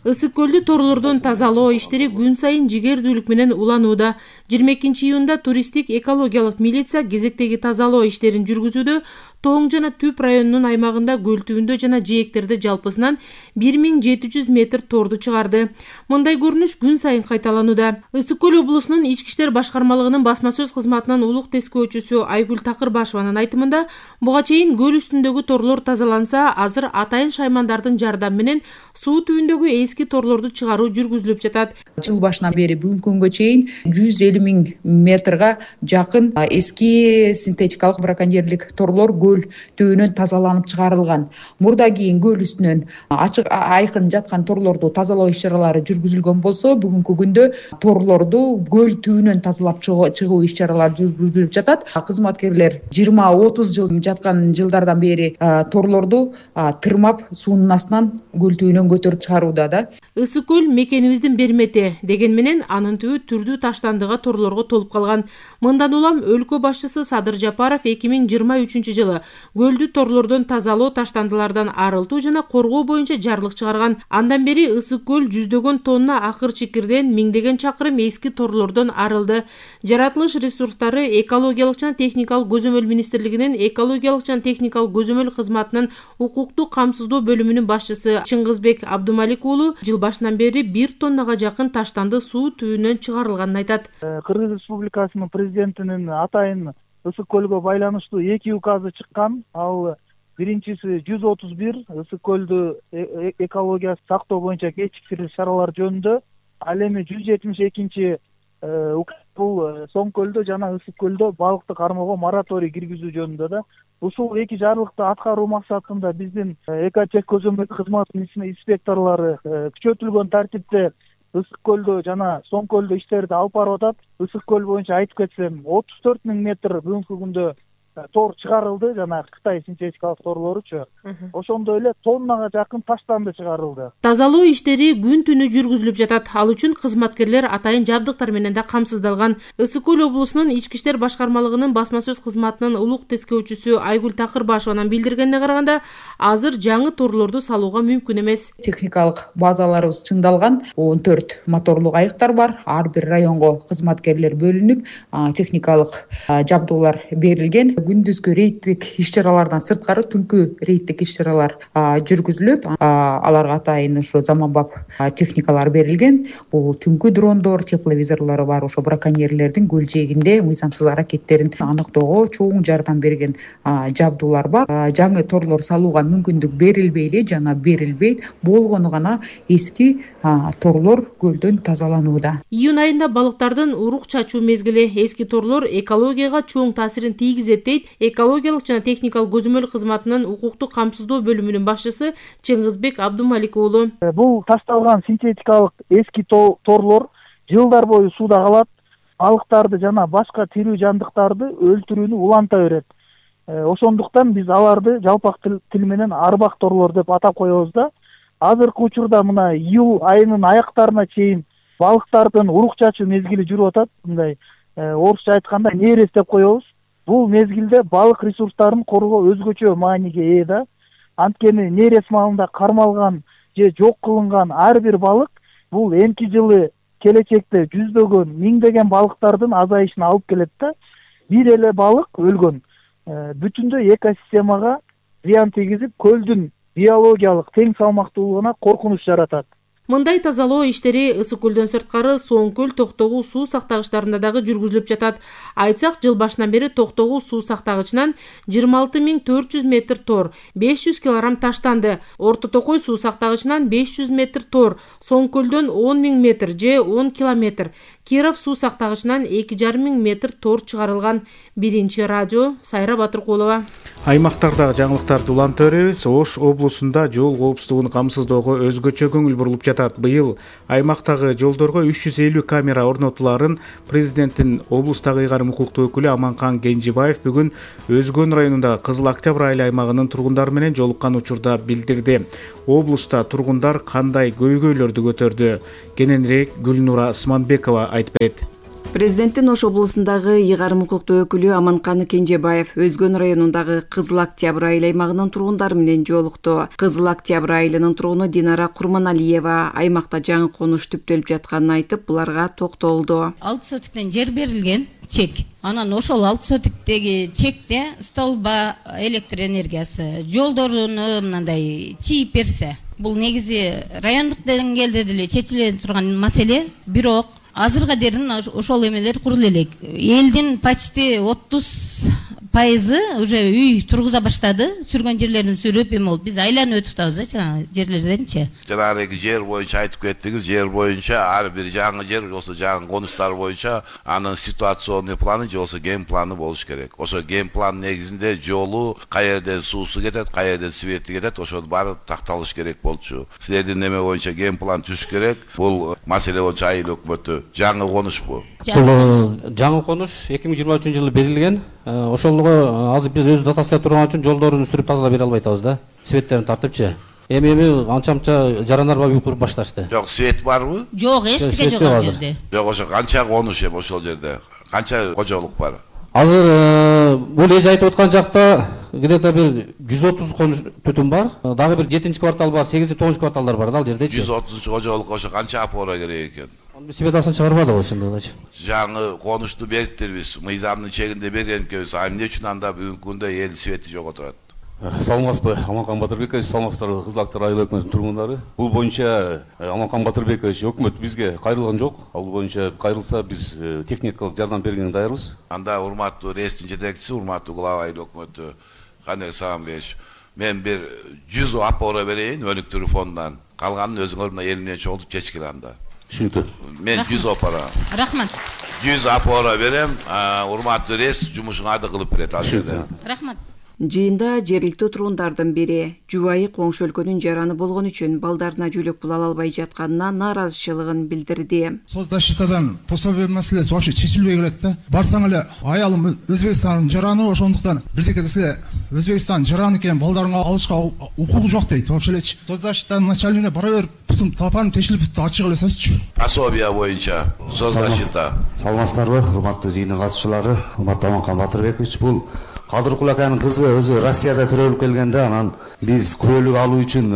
Speaker 22: Ысык көлдү торлордон тазалоо иштери күн сайын жигердүүлүк менен уланууда. 22-июнда туристтик экологиялык милиция кезектеги тазалоо иштерин жүргүзүүдө Тоң жана Түп районунун аймагында көл түбүндө жана жээктерде жалпысынан 1700 метр торду чыгарды. Мындай көрүнүш күн сайын кайталанууда. Ысык көл облусунун ички иштер башкармалыгынын басма сөз кызматынын улук тескөөчүсү Айгүл Такырбашеванын айтымында, буга чейин көл үстүндөгү торлор тазаланса, азыр атайын шаймандардын жардамы менен суу түбүндөгү эски торлорду чыгаруу жүргүзүлүп жатат.
Speaker 23: Жыл башынан бери бүгүнкү күнгө чейин 150 000 метрге жакын эски синтетикалык браконьерлик торлор көл түбүнөн тазаланып чыгарылган. Мурда кийин көл үстүнөн ачык айкын жаткан торлорду тазалоо иш-чаралары жүргүзүлгөн болсо, бүгүнкү күндө торлорду көл түбүнөн тазалап чыгуу иш-чаралары жүргүзүлүп жатат. Кызматкерлер 20-30 жыл жаткан жылдардан бери торлорду тырмап суунун астынан көл түбүнөн көтөрүп чыгарууда да.
Speaker 22: Ысык көл мекенибиздин бермети деген менен анын түбү түрдүү таштандыга торлорго толуп калган. Мындан улам өлкө башчысы Садыр Жапаров 2023 жылы көлдү торлордон тазалоо, таштандылардан арылтуу жана коргоо боюнча жарлык чыгарган. Андан бери ысык көл жүздөгөн тонна акыр чикирден, миңдеген чакырым эски торлордон арылды. Жаратылыш ресурстары экологиялык жана техникалык көзөмөл министрлигинин экологиялык жана техникалык көзөмөл кызматынын укуктук камсыздоо бөлүмүнүн башчысы Чыңгызбек Абдумалик уулу жыл башынан бери 1 тоннага жакын таштанды суу түбүнөн чыгарылганын айтат.
Speaker 24: Кыргыз Республикасынын президентинин атайын ысык көлгө байланыштуу 2 указы чыккан. Ал биринчиси 131 ысык көлдү экология сактоо боюнча кечиктерүү чаралар жөнүндө, ал эми 172 бул Соң көлдө жана ысык көлдө балыкты кармоого мораторий киргизүү жөнүндө да. Ушул 2 жарлыкты аткаруу максатында биздин экотех көзөмөл кызматынын инспекторлору күчөтүлгөн тартипте ысык көлдө жана Соң көлдө иштерди алып барып атат. Ысык көл боюнча айтып кетсем 34 000 метр бүгүнкү күндө тор чыгарылды, жана Кытай синтетикалык торлоручу. Ошондой эле тоннага жакын таштанды чыгарылды.
Speaker 22: Тазалоо иштери күн түнү жүргүзүлүп жатат. Ал үчүн кызматкерлер атайын жабдыктар менен да камсыздалган. Ысык көл облусунун ички иштер башкармалыгынын басма сөз кызматынын улук тескөөчүсү Айгүл Такырбашеванын билдиргенине караганда, азыр жаңы торлорду салууга мүмкүн эмес.
Speaker 23: Техникалык базаларыбыз чыңдалган. 14 моторлук айыктар бар. Ар бир районго кызматкерлер бөлүнүп, техникалык жабдуулар берилген. Күндүзгү рейдтик иш-чаралардан сырткары түнкү рейдтик иш-чаралар жүргүзүлөт. Аларга атайын ошо заманбап техникалар берилген. Бул түнкү дрондор, тепловизорлору бар. Ошо браконьерлердин көл жээгинде мыйзамсыз аракеттерин аныктоого чоң жардам берген жабдуулар бар. Жаңы торлор салууга мүмкүндүк берилбей эле жана берилбейт. Болгону гана эски торлор көлдөн тазаланууда.
Speaker 22: Июнь айында балыктардын урук чачуу мезгили. Эски торлор экологияга чоң таасирин тийгизет дейт экологиялык жана техникалык көзөмөл кызматынын укуктук камсыздоо бөлүмүнүн башчысы Чыңгызбек Абдумалик уулу.
Speaker 24: Бул ташталган синтетикалык эски торлор жылдар бою сууда калат, балыктарды жана башка тирүү жандыктарды өлтүрүүнү уланта берет. Ошондуктан биз аларды жалпак тил менен арбак торлор деп атап коебуз да. Азыркы учурда мына июль айынын аяктарына чейин балыктардын урук чачуу мезгили жүрүп атат. Мындай орусча айтканда нерес деп коебуз. Бул мезгилде балык ресурстарын коргоо өзгөчө мааниге ээ да. Анткени нерес маалында кармалган же жок кылынган ар бир балык бул эмки жылы келечекте жүздөгөн, миңдеген балыктардын азайышына алып келет да. Бир эле балык өлгөн бүтүндөй экосистемага зыян тийгизип, көлдүн биологиялык тең салмактуулугуна коркунуч жаратат.
Speaker 22: Мындай тазалоо иштери Ысык көлдөн сырткары Соң көл Токтогул суу сактагычтарында дагы жүргүзүлүп жатат. Айтсак, жыл башынан бери Токтогул суу сактагычынан 26.400 метр тор, 500 килограмм таштанды. Орто Токой суу сактагычынан 500 метр тор, Соң көлдөн 10.000 метр же 10 километр, Киров суу сактагычынан 2.5 метр тор чыгарылган. Биринчи радио Сайра Батыркулова.
Speaker 1: Аймактардагы жаңылыктарды уланта беребиз. Ош облусунда жол коопсуздугун камсыздоого өзгөчө көңүл бурулуп жатат. Быйыл аймактагы жолдорго 350 камера орнотуларын президенттин облустагы ыйгарым укуктуу өкүлү Аманкан Кенжебаев бүгүн Өзгөн районундагы Кызыл Октябрь айыл аймагынын тургундары менен жолуккан учурда билдирди. Облуста тургундар кандай көйгөйлөрдү көтөрдү? Кененирээк Гүлнура Сманбекова айтып берет.
Speaker 2: Президенттин Ош облусундагы ыйгарым укуктуу өкүлү Аманкан Кенжебаев Өзгөн районундагы Кызыл Октябрь айыл аймагынын тургундары менен жолукту. Кызыл Октябрь айылынын тургуну Динара Курманалиева аймакта жаңы конуш түптөлүп жатканын айтып, буларга токтолду.
Speaker 4: 6 сотиктен жер берилген чек. Анан ошол 6 сотиктеги чекте столба электр энергиясы, жолдоруну мындай чийип берсе, бул негизи райондук деңгээлде деле чечиле турган маселе, бирок азырга дерин ошол эмелер курулу элек. Элдин почти 30% уже үй тургуза баштады. Сүргөн жерлерин сүрүп эме болуп, биз айланып өтүп атабыз жана жерлерденчи.
Speaker 5: Жанагы жер боюнча айтып кеттиңиз, жер боюнча ар бир жаңы жер, болсо жаңы конуштар боюнча анын ситуационный планы же болсо ген планы болуш керек. Ошо ген план негизинде жолу каерден суусу кетет, каерден свети кетет, ошонун баары такталыш керек болчу. Силердин неме боюнча ген план түзүш керек. Бул маселе боюнча айыл өкмөтү жаңы конуш бул.
Speaker 6: Бул жаңы конуш 2023-жылы берилген. Ошолго азыр биз өз датасы турган үчүн жолдорун сүрүп тазалап бере албай атабыз да. Светтерин тартыпчы. Эми анча жарандар бар куруп башташты.
Speaker 5: Жок, свет барбы?
Speaker 4: Жок, эчтеке жок ал жерде.
Speaker 5: Жок, ошо канча конуш эми ошол жерде? Канча кожолук бар?
Speaker 6: Азыр бул эже айтып аткан жакта где-то бир 130 конуш түтүн бар. Дагы бир 7-чи квартал бар, 8-9 кварталдар бар да ал жердечи.
Speaker 5: 130 кожолук ошо канча апора керек экен?
Speaker 6: Светасын чыгарбады ол чындыгычы.
Speaker 5: Жаңы конушту бериптирбиз, мыйзамдын чегинде берген экенбиз. Эмне үчүн анда бүгүнкү күндө эл свети жок отурат?
Speaker 25: Саламатсызбы, Аманкан Батырбекович, саламатсыздарбы Кызыл Октябрь айыл өкмөтүнүн тургундары. Бул боюнча Аманкан Батырбекович өкмөт бизге кайрылган жок. Ал боюнча кайрылса биз техникалык жардам бергенге даярбыз.
Speaker 5: Анда урматтуу рейстин жетекчиси, урматтуу глава айыл өкмөтү Канек Сагынбекович, мен бир 100 апора берейин өнүктүрүү фондунан. Калганын өзүңөр мына эл менен чогултуп чечкиле анда.
Speaker 25: Түшүнүктүү.
Speaker 5: Мен 100 апора.
Speaker 4: Рахмат.
Speaker 5: 100 апора берем, урматтуу рейс жумушуңарды кылып берет ал жерде.
Speaker 4: Рахмат.
Speaker 2: Жыйында жергиликтүү тургундардын бири жубайы коңшу өлкөнүн жараны болгон үчүн балдарына жөлөк пул ала албай жатканына нааразычылыгын билдирди.
Speaker 26: Соцзащитадан пособие маселеси вообще чечилбей келет да. Барсаң эле аялым Өзбекстандын жараны, ошондуктан бирдеке десе Өзбекстан жараны экен, балдарыңа алышка укугу жок дейт. Вообще элечи. Соцзащитанын начальнигине бара берип, бутум тапанып тешилип бүттү, ачык эле сөзчү.
Speaker 5: Пособие боюнча соцзащита.
Speaker 6: Саламатсыздарбы, урматтуу жыйындын катышчылары, урматтуу Аманкан Батырбекович, бул Кадыркул аканын кызы өзү Россияда төрөлүп келгенде, анан биз күбөлүк алуу үчүн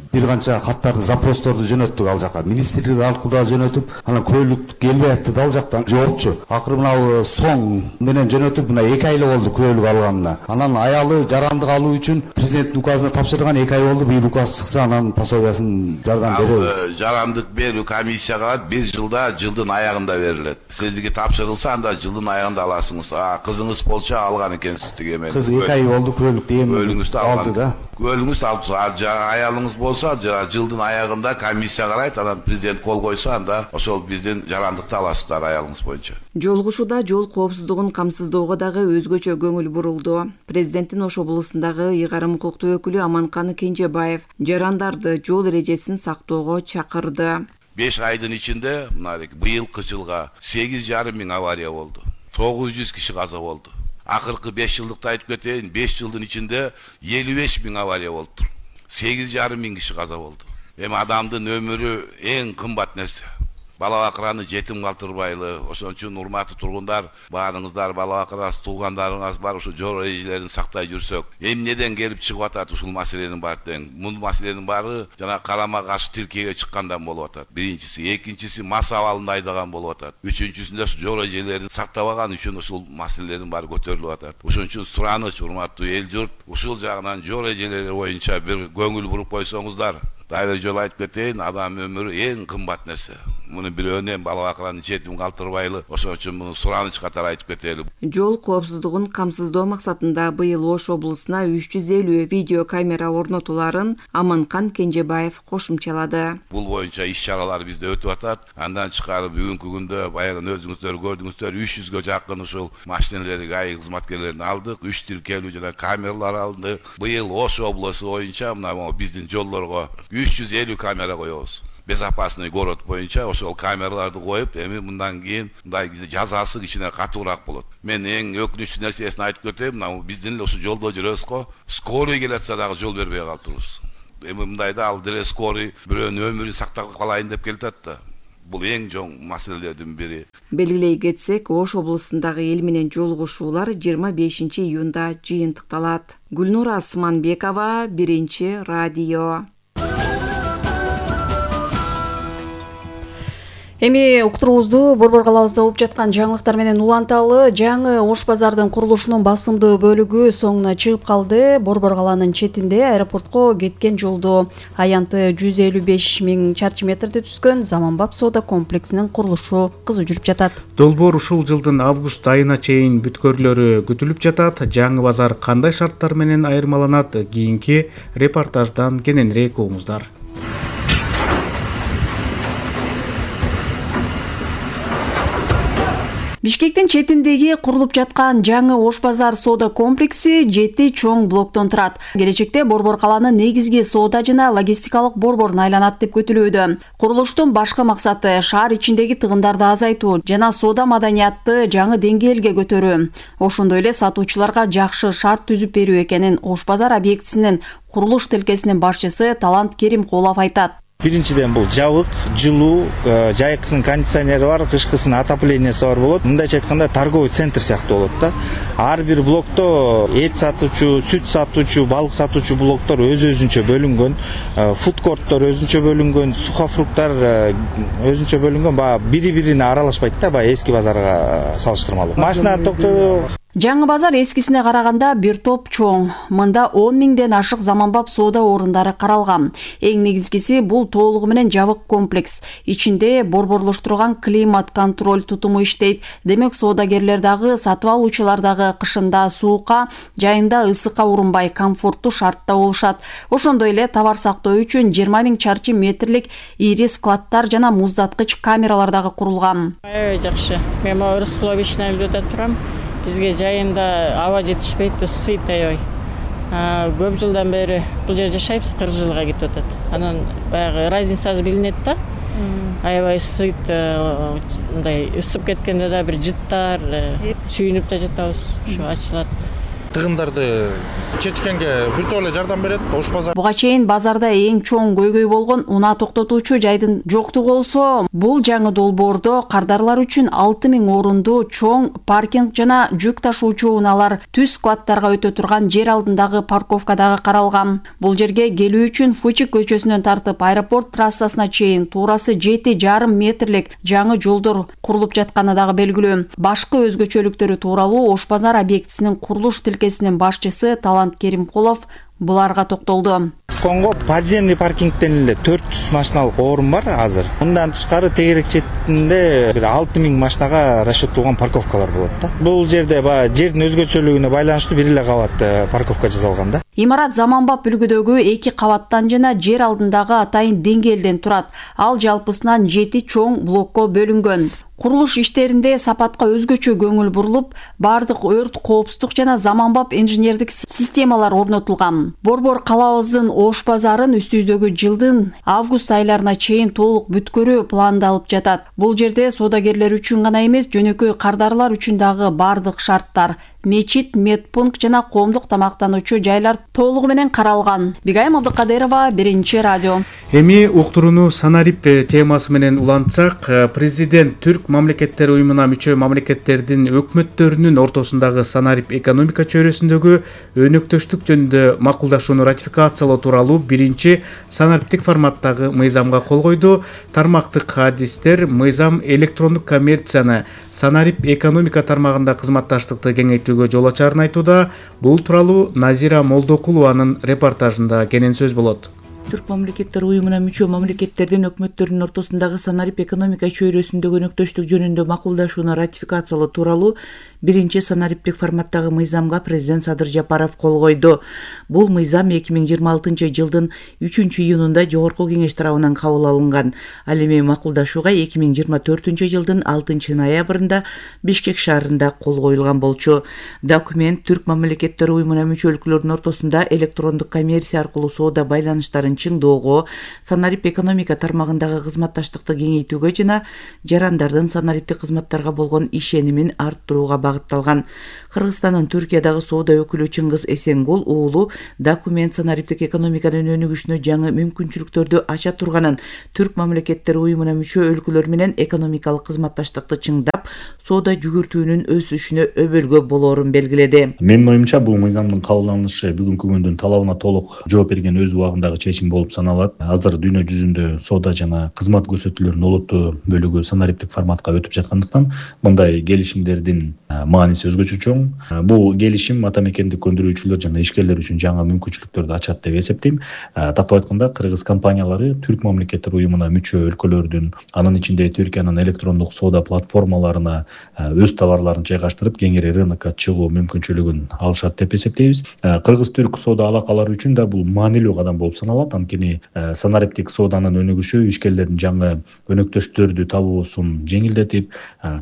Speaker 6: бир канча каттарды, запросторду жөнөттүк ал жака. Министрлик аркылуу жөнөтүп, анан күбөлүк келбей атты да ал жактан жоопчу. Акыры мына Соң менен жөнөтүп, мына 2 ай болду күбөлүк алганына. Анан аялы жарандык алуу үчүн президенттин указына тапшырган 2 ай болду. Быйыл указ чыкса, анан пособиясын жардам беребиз.
Speaker 5: Жарандык берүү комиссия кылат, 1 жылда, жылдын аягында берилет. Сиздерге тапшырылса, анда жылдын аягында аласыңыз. Кызыңыз болчу алган экен.
Speaker 6: Кыз 2 ай болду күбөлүк
Speaker 5: күбөлүңүздү
Speaker 6: алды да.
Speaker 5: Күбөлүңүз алып, аялыңыз болсо жылдын аягында комиссия карайт, анан президент кол койсо, анда ошол биздин жарандыкты аласыздар аялыңыз боюнча.
Speaker 2: Жолугушууда жол коопсуздугун камсыздоого дагы өзгөчө көңүл бурулду. Президенттин Ош облусундагы ыйгарым укуктуу өкүлү Аманкан Кенжебаев жарандарды жол эрежесин сактоого чакырды.
Speaker 5: 5 айдын ичинде быйылкы жылга 8,5 миң авария болду. 900 киши каза болду. Акыркы 5 жылдыкты айтып кетейин, 5 жылдын ичинде 55 миң авария болуптур. 8,5 миң киши каза болду. Эми адамдын өмүрү эң кымбат нерсе. Бала бакыраны жетим калтырбайлы. Ошон үчүн урматтуу тургундар, баарыңыздар бала бакырас, туугандарыңыз бар, ушу жол эрежелерин сактай жүрсөк, эмнеден келип чыгып атат ушул маселенин баары тең. Бул маселенин баары жана карама каршы тилкеге чыккандан болуп атат. Биринчиси, экинчиси мас абалында айдаган болуп атат. Үчүнчүсүндө жол эрежелерин сактабаган үчүн ушул маселелердин баары көтөрүлүп атат. Ошон үчүн сураныч урматтуу эл журт, ушул жагынан жол эрежелери боюнча бир көңүл буруп койсоңуздар, Дайыр жолу айтып кетейин, адам өмүрү эң кымбат нерсе. Муну бирөөнөн бала бакыраны четим калтырбайлы. Ошон үчүн муну сураныч катары айтып кетели.
Speaker 2: Жол коопсуздугун камсыздоо максатында быйыл Ош облусуна 350 видео камера орнотуларын Аманкан Кенжебаев кошумчалады.
Speaker 5: Бул боюнча иш-чаралар бизде өтүп атат. Андан чыкарып бүгүнкү күндө баягы өзүңүздөр көрдүңүздөр 300гө жакын ушул машиналерди ГАИ кызматкерлерин алдык. 3 тиркелүү жана камералар алынды. Быйыл Ош облусу боюнча мына биздин жолдорго 350 камера коебуз. Безопасный город боюнча ошол камераларды коюп, эми мындан кийин мындай жазасы кичине катуураак болот. Мен эң өкүнүчтүү нерсесин айтып кетейин, мына биздин эле ушул жолдо жүрөбүз го, скорый келатса дагы жол бербей калыптырбыз. Эми мындайда ал деле скорый бирөөнүн өмүрүн сактап калайын деп келатат да. Бул эң чоң маселелердин бири.
Speaker 2: Белгилей кетсек, Ош облусундагы эл менен жолугушуулар 25-июнда жыйынтыкталат. Гүлнура Асманбекова, Биринчи радио.
Speaker 8: Эми уктуруубузду Борбор калабызда болуп жаткан жаңылыктар менен уланталы. Жаңы Ош базардын курулушунун басымдуу бөлүгү соңуна чыгып калды. Борбор калаанын четинде аэропортко кеткен жолдо аянты 155 000 чарчы метрде түзгөн заманбап соода комплексинин курулушу кызуу жүрүп жатат.
Speaker 1: Долбоор ушул жылдын август айына чейин бүткөрүлөрү күтүлүп жатат. Жаңы базар кандай шарттар менен айырмаланат? Кийинки репортаждан кененирээк угуңуздар.
Speaker 8: Бишкектин четиндеги курулуп жаткан жаңы Ош базар соода комплекси 7 чоң блоктон турат. Келечекте Борбор калаанын негизги соода жана логистикалык борборуна айланат деп күтүлүүдө. Курулуштун башкы максаты шаар ичиндеги тыгындарды азайтуу жана соода маданиятты жаңы деңгээлге көтөрүү. Ошондой эле сатуучуларга жакшы шарт түзүп берүү экенин Ош базар объектисинин курулуш тилкесинин башчысы Талант Керимкулов айтат.
Speaker 3: Биринчиден бул жабык, жылуу, жайкысынын кондиционери бар, кышкысынын отоплениясы бар болот. Мындайча айтканда торговый центр сыяктуу болот да. Ар бир блокто эт сатуучу, сүт сатуучу, балык сатуучу блоктор өз-өзүнчө бөлүнгөн, фудкорттор өзүнчө бөлүнгөн, сухофруктар өзүнчө бөлүнгөн, баягы бири-бирине аралашпайт да, баягы эски базарга салыштырмалуу. Машина токтоо.
Speaker 8: Жаңы базар эскисине караганда бир топ чоң. Мында 10 000ден ашык заманбап соода орундары каралган. Эң негизгиси бул толугу менен жабык комплекс. Ичинде борборлоштурулган климат контроль тутуму иштейт. Демек соодагерлер дагы, сатып алуучулар дагы кышында суукка, жайында ысыкка урунбай комфорттуу шартта болушат. Ошондой эле товар сактоо үчүн 20 000 чарчы метрлик ири складтар жана муздаткыч камералар дагы курулган.
Speaker 7: Жакшы. Мен Рыскуловичтен үйлөдө турам. Бизге жайында аба жетишпейт, ысыйт аябай. Көп жылдан бери бул жерде жашайбыз, 40 жылга кетип атат. Анан баягы разницасы билинет да. Аябай ысыйт, мындай ысып кеткенде да бир жыттар, сүйүнүп да жатабыз, ушу ачылат.
Speaker 9: Тыгындарды чечкенге биртөө эле жардам берет Ош базар.
Speaker 8: Буга чейин базарда эң чоң көйгөй болгон унаа токтотуучу жайдын жоктугу болсо, бул жаңы долбоордо кардарлар үчүн 6 000 орунду чоң паркинг жана жүк ташуучу унаалар түз складтарга өтө турган жер алдындагы парковка дагы каралган. Бул жерге келүү үчүн Фучик көчөсүнөн тартып аэропорт трассасына чейин туурасы 7,5 метрлик жаңы жолдор курулуп жатканы дагы белгилүү. Башкы өзгөчөлүктөрү тууралуу Ош базар объектисинин курулуш тилкесинин башчысы Талант Керимкулов буларга токтолду.
Speaker 3: Конго подземный паркингден эле 400 машиналык орун бар азыр. Мындан тышкары тегерек четинде 6 000 машинага расчеттолгон парковкалар болот да. Бул жерде баягы жердин өзгөчөлүгүнө байланыштуу бир эле кабат парковка жасалган да.
Speaker 8: Имарат заманбап үлгүдөгү 2 кабаттан жана жер алдындагы атайын деңгээлден турат. Ал жалпысынан 7 чоң блокко бөлүнгөн. Курулуш иштеринде сапатка өзгөчө көңүл бурулуп, бардык өрт коопсуздук жана заманбап инженердик системалар орнотулган. Борбор калабыздын Ош базарын үстүбүздөгү жылдын август айларына чейин толук бүткөрүү пландалып жатат. Бул жерде соодагерлер үчүн гана эмес, жөнөкөй кардарлар үчүн дагы бардык шарттар, мечит, медпункт жана коомдук тамактануучу жайлар толугу менен каралган. Бигайым Абдыкадырова, Биринчи радио.
Speaker 1: Эми уктурууну санарип темасы менен улантсак, президент Түрк мамлекеттер уюмуна мүчө мамлекеттердин өкмөттөрүнүн ортосундагы санарип экономика чөйрөсүндөгү өнөктөштүк жөнүндө макулдашууну ратификациялоо тууралуу биринчи санариптик форматтагы мыйзамга кол койду. Тармактык адистер мыйзам электрондук коммерцияны, санарип экономика тармагында кызматташтыкты кеңейтүүгө жол ачарын айтууда. Бул тууралуу Назира Молдокулованын репортажында кенен сөз болот.
Speaker 17: Түрк мамлекеттер уюмуна мүчө мамлекеттердин өкмөттөрүнүн ортосундагы санарип экономика чөйрөсүндөгү өнөктөштүк жөнүндө макулдашууну ратификациялоо тууралуу биринчи санариптик форматтагы мыйзамга президент Садыр Жапаров кол койду. Бул мыйзам 2026 жылдын 3-июнунда Жогорку кеңеш тарабынан кабыл алынган. Ал эми макулдашууга 2024 жылдын 6 ноябрында Бишкек шаарында кол коюлган болчу. Документ Түрк мамлекеттер уюмуна мүчө өлкөлөрдүн ортосунда электрондук коммерция аркылуу соода байланыштарын чыңдоого, санарип экономика тармагындагы кызматташтыкты кеңейтүүгө жана жарандардын санариптик кызматтарга болгон ишенимин арттырууга багытталган. Кыргызстандын Түркиядагы соода өкүлү Чыңгыз Эсенгул уулу документ санариптик экономиканын өнүгүшүнө жаңы мүмкүнчүлүктөрдү ача турганын, Түрк мамлекеттер уюмуна мүчө өлкөлөр менен экономикалык кызматташтыкты чыңдап, соода жүгүртүүнүн өсүшүнө өбөлгө болоорун белгиледи.
Speaker 10: Менин оюмча бул мыйзамдын кабыл алынышы бүгүнкү күндүн талабына толук жооп берген өз убагындагы чечим болуп саналат. Азыр дүйнө жүзүндө соода жана кызмат көрсөтүүлөрүнүн олуттуу бөлүгү санариптик форматка өтүп жаткандыктан мындай келишимдердин мааниси өзгөчө чоң. Бул келишим ата мекендик өндүрүүчүлөр жана ишкерлер үчүн жаңы мүмкүнчүлүктөрдү ачат деп эсептейм. Тактап айтканда, кыргыз компаниялары Түрк мамлекеттер уюмуна мүчө өлкөлөрдүн, анын ичинде Түркиянын электрондук соода платформаларына өз товарларын жайгаштырып, кеңири рынокко чыгуу мүмкүнчүлүгүн алышат деп эсептейбиз. Кыргыз-түрк соода алакалары үчүн да бул маанилүү кадам болуп саналат. Анткени санариптик сооданын өнүгүшү ишкерлердин жаңы өнөктөштөрдү табуусун жеңилдетип,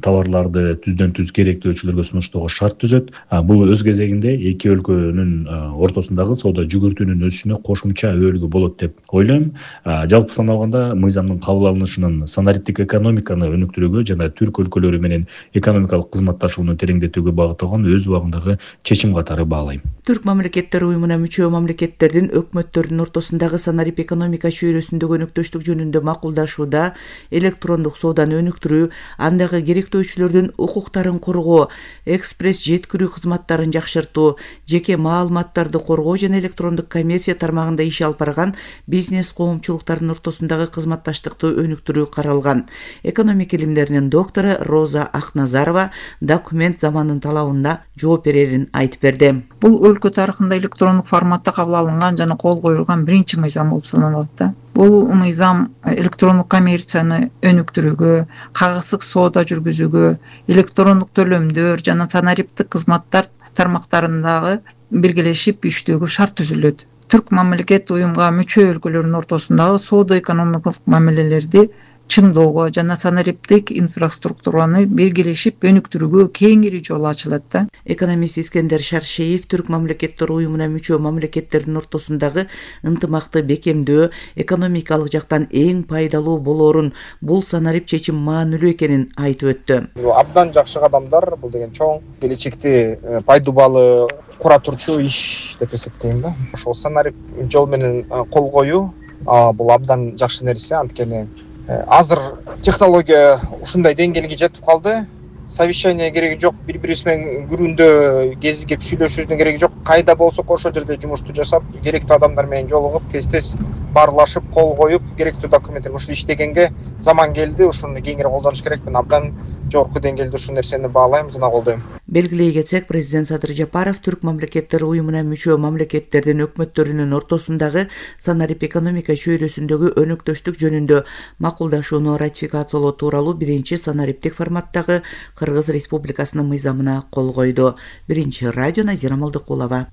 Speaker 10: товарларды түздөн түз керектөөчүлөргө сунуштоого шарт түзөт. Бул өз кезегинде эки өлкөнүн ортосундагы соода жүгүртүүнүн өсүшүнө кошумча өбөлгү болот деп ойлойм. Жалпы саналганда, мыйзамдын кабыл алынышынын санариптик экономиканы өнүктүрүүгө жана түрк өлкөлөрү менен экономикалык кызматташууну тереңдетүүгө багытталган өз убагындагы чечим катары баалайм.
Speaker 17: Түрк мамлекеттер уюмуна мүчө мамлекеттердин өкмөттөрүнүн ортосундагы санарип экономика чөйрөсүндөгү өнөктөштүк жөнүндө макулдашууда электрондук сооданы өнүктүрүү, андагы керектөөчүлөрдүн укуктарын коргоо, экспресс жеткирүү кызматтарын жакшыртуу, жеке маалыматтарды коргоо жана электрондук коммерция тармагында иш алып барган бизнес коомчулуктардын ортосундагы кызматташтыкты өнүктүрүү каралган. Экономика илимдеринин доктору Роза Акназарова документ замандын талабына жооп берерин айтып берди.
Speaker 11: Бул өлкө тарыхында электрондук форматта кабыл алынган жана кол коюлган биринчи мыйзам болуп саналат да. Бул мыйзам электрондук коммерцияны өнүктүрүүгө, кагыздык соода жүргүзүүгө, электрондук төлөмдөр жана санариптик кызматтар тармактарындагы биргелешип иштөөгө шарт түзүлөт. Түрк мамлекет уюмга мүчө өлкөлөрдүн ортосундагы соода экономикалык мамилелерди чыңдоого жана санариптик инфраструктураны биргелешип өнүктүрүүгө кеңири жол ачылат да.
Speaker 17: Экономист Искендер Шаршеев Түрк мамлекеттер уюмуна мүчө мамлекеттердин ортосундагы ынтымакты бекемдөө экономикалык жактан эң пайдалуу болоорун, бул санарип чечим маанилүү экенин айтып өттү.
Speaker 12: Абдан жакшы кадамдар, бул деген чоң келечекте пайдубалы кура турчу иш деп эсептейм да. Ошол санарип жол менен кол коюу бул абдан жакшы нерсе, анткени азыр технология ушундай деңгээлге жетип калды. Совещание кереги жок, бири-бирибиз менен күрүндө кезигип сүйлөшүүнүн кереги жок. Кайда болсок ошол жерде жумушту жасап, керектүү адамдар менен жолугуп, тез-тез баарлашып, кол коюп, керектүү документтер ушул иштегенге заман келди. Ушуну кеңири колдонуш керек. Мен абдан жогорку деңгээлде ушул нерсени баалайм жана колдойм.
Speaker 17: Белгилей кетсек, президент Садыр Жапаров Түрк мамлекеттер уюмуна мүчө мамлекеттердин өкмөттөрүнүн ортосундагы санарип экономика чөйрөсүндөгү өнөктөштүк жөнүндө макулдашууну ратификациялоо тууралуу биринчи санариптик форматтагы Кыргыз Республикасынын мыйзамына кол койду. Биринчи радио Назира Малдыкулова.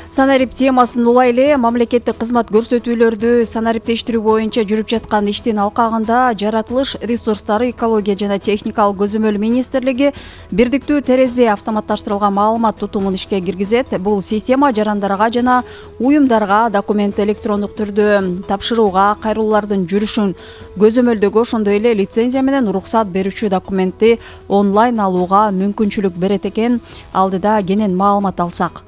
Speaker 8: Санарип темасын улай эле мамлекеттик кызмат көрсөтүүлөрдү санариптештирүү боюнча жүрүп жаткан иштин алкагында Жаратылыш ресурстары, экология жана техникалык көзөмөл министрлиги бирдиктүү терезе автоматташтырылган маалымат тутумун ишке киргизет. Бул система жарандарга жана уюмдарга документ электрондук түрдө тапшырууга, кайрылуулардын жүрүшүн көзөмөлдөгө, ошондой эле лицензия менен уруксат берүүчү документти онлайн алууга мүмкүнчүлүк берет экен. Алдыда кенен маалымат алсак.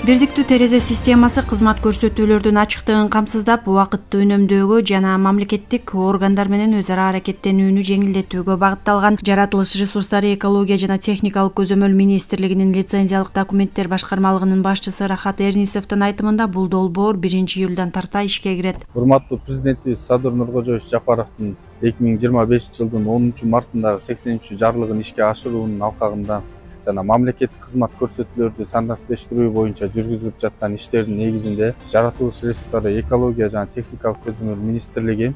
Speaker 13: Бирдиктүү терезе системасы кызмат көрсөтүүлөрдүн ачыктыгын камсыздап, убакытты үнөмдөөгө жана мамлекеттик органдар менен өз ара аракеттенүүнү жеңилдетүүгө багытталган. Жаратылыш ресурстары, экология жана техникалык көзөмөл министрлигинин лицензиялык документтер башкармалыгынын башчысы Рахат Эрнисовдун айтымында, бул долбоор 1-июлдан тарта ишке кирет.
Speaker 9: Урматтуу президентибиз Садыр Нуркожоевич Жапаровдун 2025 жылдын 10 мартындагы 83 жарлыгын ишке ашыруунун алкагында
Speaker 14: жана мамлекеттик кызмат көрсөтүүлөрдү стандарттештирүү боюнча жүргүзүлүп жаткан иштердин негизинде жаратылыш ресурстары экология жана техникалык көзөмөл министрлиги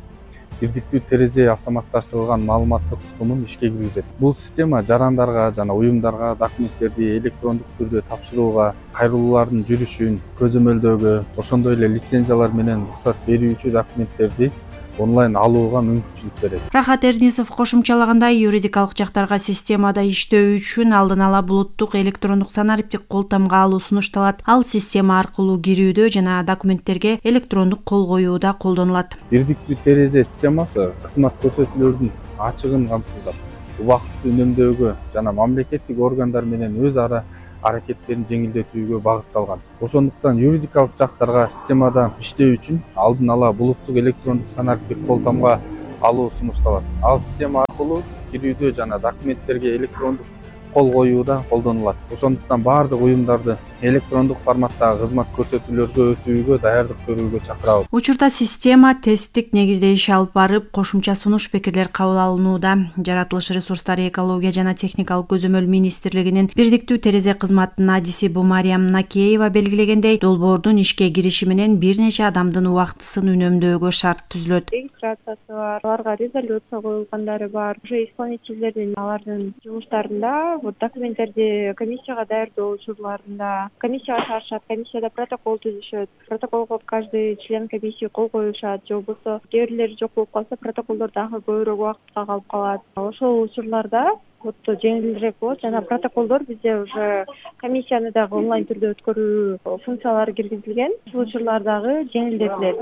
Speaker 14: бирдиктүү терезе автоматташтырылган маалыматтык тутумун ишке киргизет. Бул система жарандарга жана уюмдарга документтерди электрондук түрдө тапшырууга, кайрылуулардын жүрүшүн көзөмөлдөөгө, ошондой эле лицензиялар менен уруксат берүүчү документтерди онлайн алууга мүмкүнчүлүк берет.
Speaker 13: Рахат Эрнисов кошумчалагандай, юридикалык жактарга системада иштөө үчүн алдын ала булуттук электрондук санариптик кол тамга алуу сунушталат. Ал система аркылуу кирүүдө жана документтерге электрондук кол коюуда колдонулат.
Speaker 14: Бирдиктүү терезе системасы кызмат көрсөтүүлөрдүн ачыгын камсыздап, убакытты үнөмдөөгө жана мамлекеттик органдар менен өз ара аракеттерин жеңилдетүүгө багытталган. Ошондуктан юридикалык жактарга системада иштөө үчүн алдын ала булуттук электрондук санариптик кол тамга алуу сунушталат. Ал система аркылуу кирүүдө жана документтерге электрондук кол коюуда колдонулат. Ошондуктан баардык уюмдарды электрондук форматтагы кызмат көрсөтүүлөргө өтүүгө даярдык көрүүгө чакырабыз.
Speaker 13: Учурда система тесттик негизде иш алып барып, кошумча сунуш пикирлер кабыл алынууда. Жаратылыш ресурстары экология жана техникалык көзөмөл министрлигинин бирдиктүү терезе кызматынын адиси Бумариям Накеева белгилегендей, долбоордун ишке кириши менен бир нече адамдын убактысын үнөмдөөгө шарт түзүлөт.
Speaker 15: Регистрациясы бар, аларга резолюция коюлгандары бар. Уже исполнительдердин алардын жумуштарында документтерди комиссияга даярдоо учурларында комиссияга чыгарышат, комиссияда протокол түзүшөт. Протоколго каждый член комиссии кол коюшат, же болбосо кээ бирлери жок болуп калса, протоколдор дагы көбүрөөк убакытка калып калат. Ошол учурларда жеңилирээк болот жана протоколдор бизде уже комиссияны дагы онлайн түрдө өткөрүү функциялары киргизилген. Ушул учурлар дагы жеңилдетилет.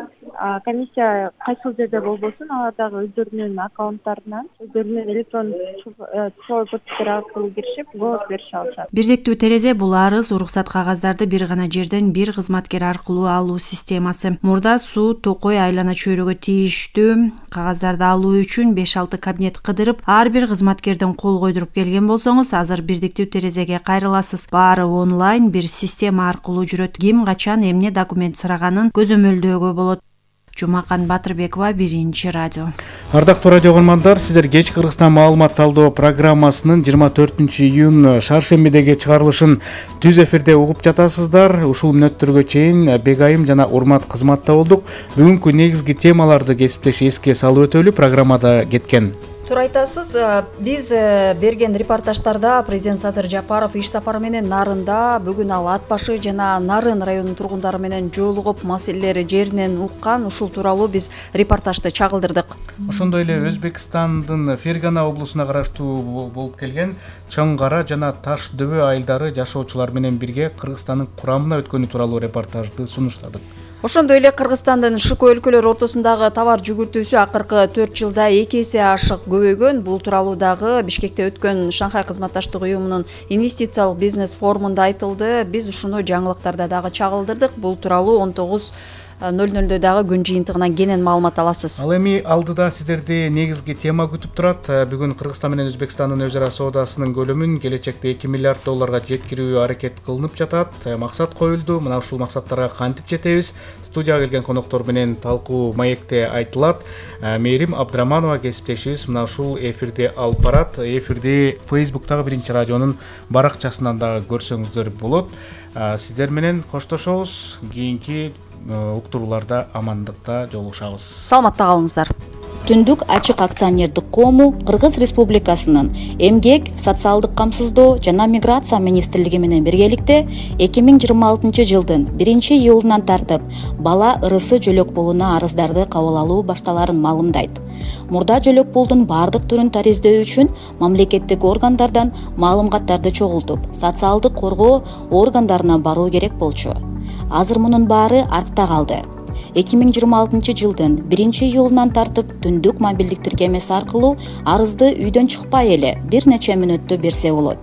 Speaker 15: Комиссия кайсыл жерде болбосун, алар дагы өздөрүнүн аккаунттарынан, өздөрүнүн электрондук цифровой подпистер аркылуу киришип, голос берише алышат.
Speaker 13: Бирдиктүү терезе бул арыз, уруксат кагаздарды бир гана жерден бир кызматкер аркылуу алуу системасы. Мурда суу, токой, айлана чөйрөгө тийиштүү кагаздарды алуу үчүн 5-6 кабинет кыдырып, ар бир кызматкерден кол койдуруп келген болсоңуз, азыр бирдиктүү терезеге кайрыласыз. Баары онлайн бир система аркылуу жүрөт. Ким качан эмне документ сураганын көзөмөлдөөгө болот. Жумакан Батырбекова, Биринчи радио.
Speaker 1: Ардактуу радио көрөрмандар, сиздер Кеч Кыргызстан маалымат талдоо программасынын 24-июнь шаршембидеги чыгарылышын түз эфирде угуп жатасыздар. Ушул мүнөттөргө чейин Бегайым жана Урмат кызматта болдук. Бүгүнкү негизги темаларды кесиптеш эске салып өтөлү, программада кеткен.
Speaker 8: Туура айтасыз. Биз берген репортаждарда президент Садыр Жапаров иш сапары менен Нарында, бүгүн ал Ат башы жана Нарын районунун тургундары менен жолугуп, маселелери жеринен уккан. Ушул тууралуу биз репортажды чагылдырдык.
Speaker 1: Ошондой эле Өзбекстандын Фергана облусуна караштуу болуп келген Чоң Кара жана Таш дөбө айылдары жашоочулар менен бирге Кыргызстандын курамына өткөнү тууралуу репортажды сунуштадык.
Speaker 8: Ошондой эле Кыргызстандын ШК өлкөлөр ортосундагы товар жүгүртүүсү акыркы 4 жылда 2 эсе ашык көбөйгөн. Бул тууралуу дагы Бишкекте өткөн Шанхай кызматташтык уюмунун инвестициялык бизнес форумунда айтылды. Биз ушуну жаңылыктарда дагы чагылдырдык. Бул тууралуу 19:00 дагы күн жыйынтыгынан кенен маалымат аласыз.
Speaker 1: Ал эми алдыда сиздерди негизги тема күтүп турат. Бүгүн Кыргызстан менен Өзбекстандын өз ара соодасынын көлөмүн келечекте 2 миллиард долларга жеткирүү аракет кылынып жатат. Максат коюлду. Мына ушул максаттарга кантип жетебиз? Студияга келген коноктор менен талкуу маекте айтылат. Мээрим Абдыраманова кесиптешибиз мына ушул эфирди алып барат. Эфирди Facebooktагы Биринчи радионун баракчасынан дагы көрсөңүздөр болот. Сиздер менен коштошобуз. Кийинки уктурууларда амандыкта жолугушабыз.
Speaker 8: Саламатта калыңыздар.
Speaker 16: Түндүк ачык акционердик коому Кыргыз Республикасынын Эмгек, социалдык камсыздоо жана миграция министрлиги менен биргеликте 2026 жылдын 1-июлунан тартып бала ырысы жөлөк пулуна арыздарды кабыл алуу башталарын маалымдайт. Мурда жөлөк пулдун бардык түрүн тариздөө үчүн мамлекеттик органдардан маалыматтарды чогултуп, социалдык коргоо органдарына баруу керек болчу. Азыр мунун баары артта калды. 2026 жылдын 1-июлунан тартып түндүк мобилдик тиркемеси аркылуу арызды үйдөн чыкпай эле бир нече мүнөттө берсе болот.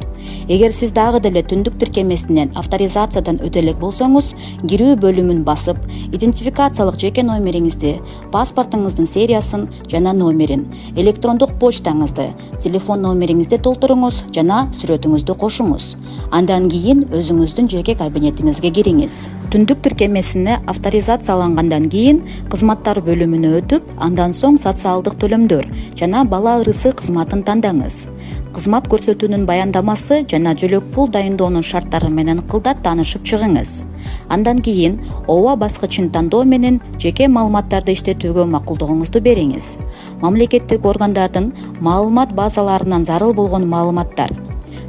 Speaker 16: Эгер сиз дагы деле түндүк тиркемесинен авторизациядан өтө элек болсоңуз, кирүү бөлүмүн басып, идентификациялык жеке номериңизди, паспортуңуздун сериясын жана номерин, электрондук почтаңызды, телефон номериңизди толтуруңуз жана сүрөтүңүздү кошуңуз. Андан кийин өзүңүздүн жеке кабинетиңизге кириңиз. Түндүк тиркемесине авторизациялангандан кийин кызматтар бөлүмүнө өтүп, андан соң социалдык төлөмдөр жана бала ырысы кызматын тандаңыз. Кызмат көрсөтүүнүн баяндамасы арызы жана жөлөк пул дайындоонун шарттары менен кылдат таанышып чыгыңыз. Андан кийин ооба баскычын тандоо менен жеке маалыматтарды иштетүүгө макулдугуңузду бериңиз. Мамлекеттик органдардын маалымат базаларынан зарыл болгон маалыматтар,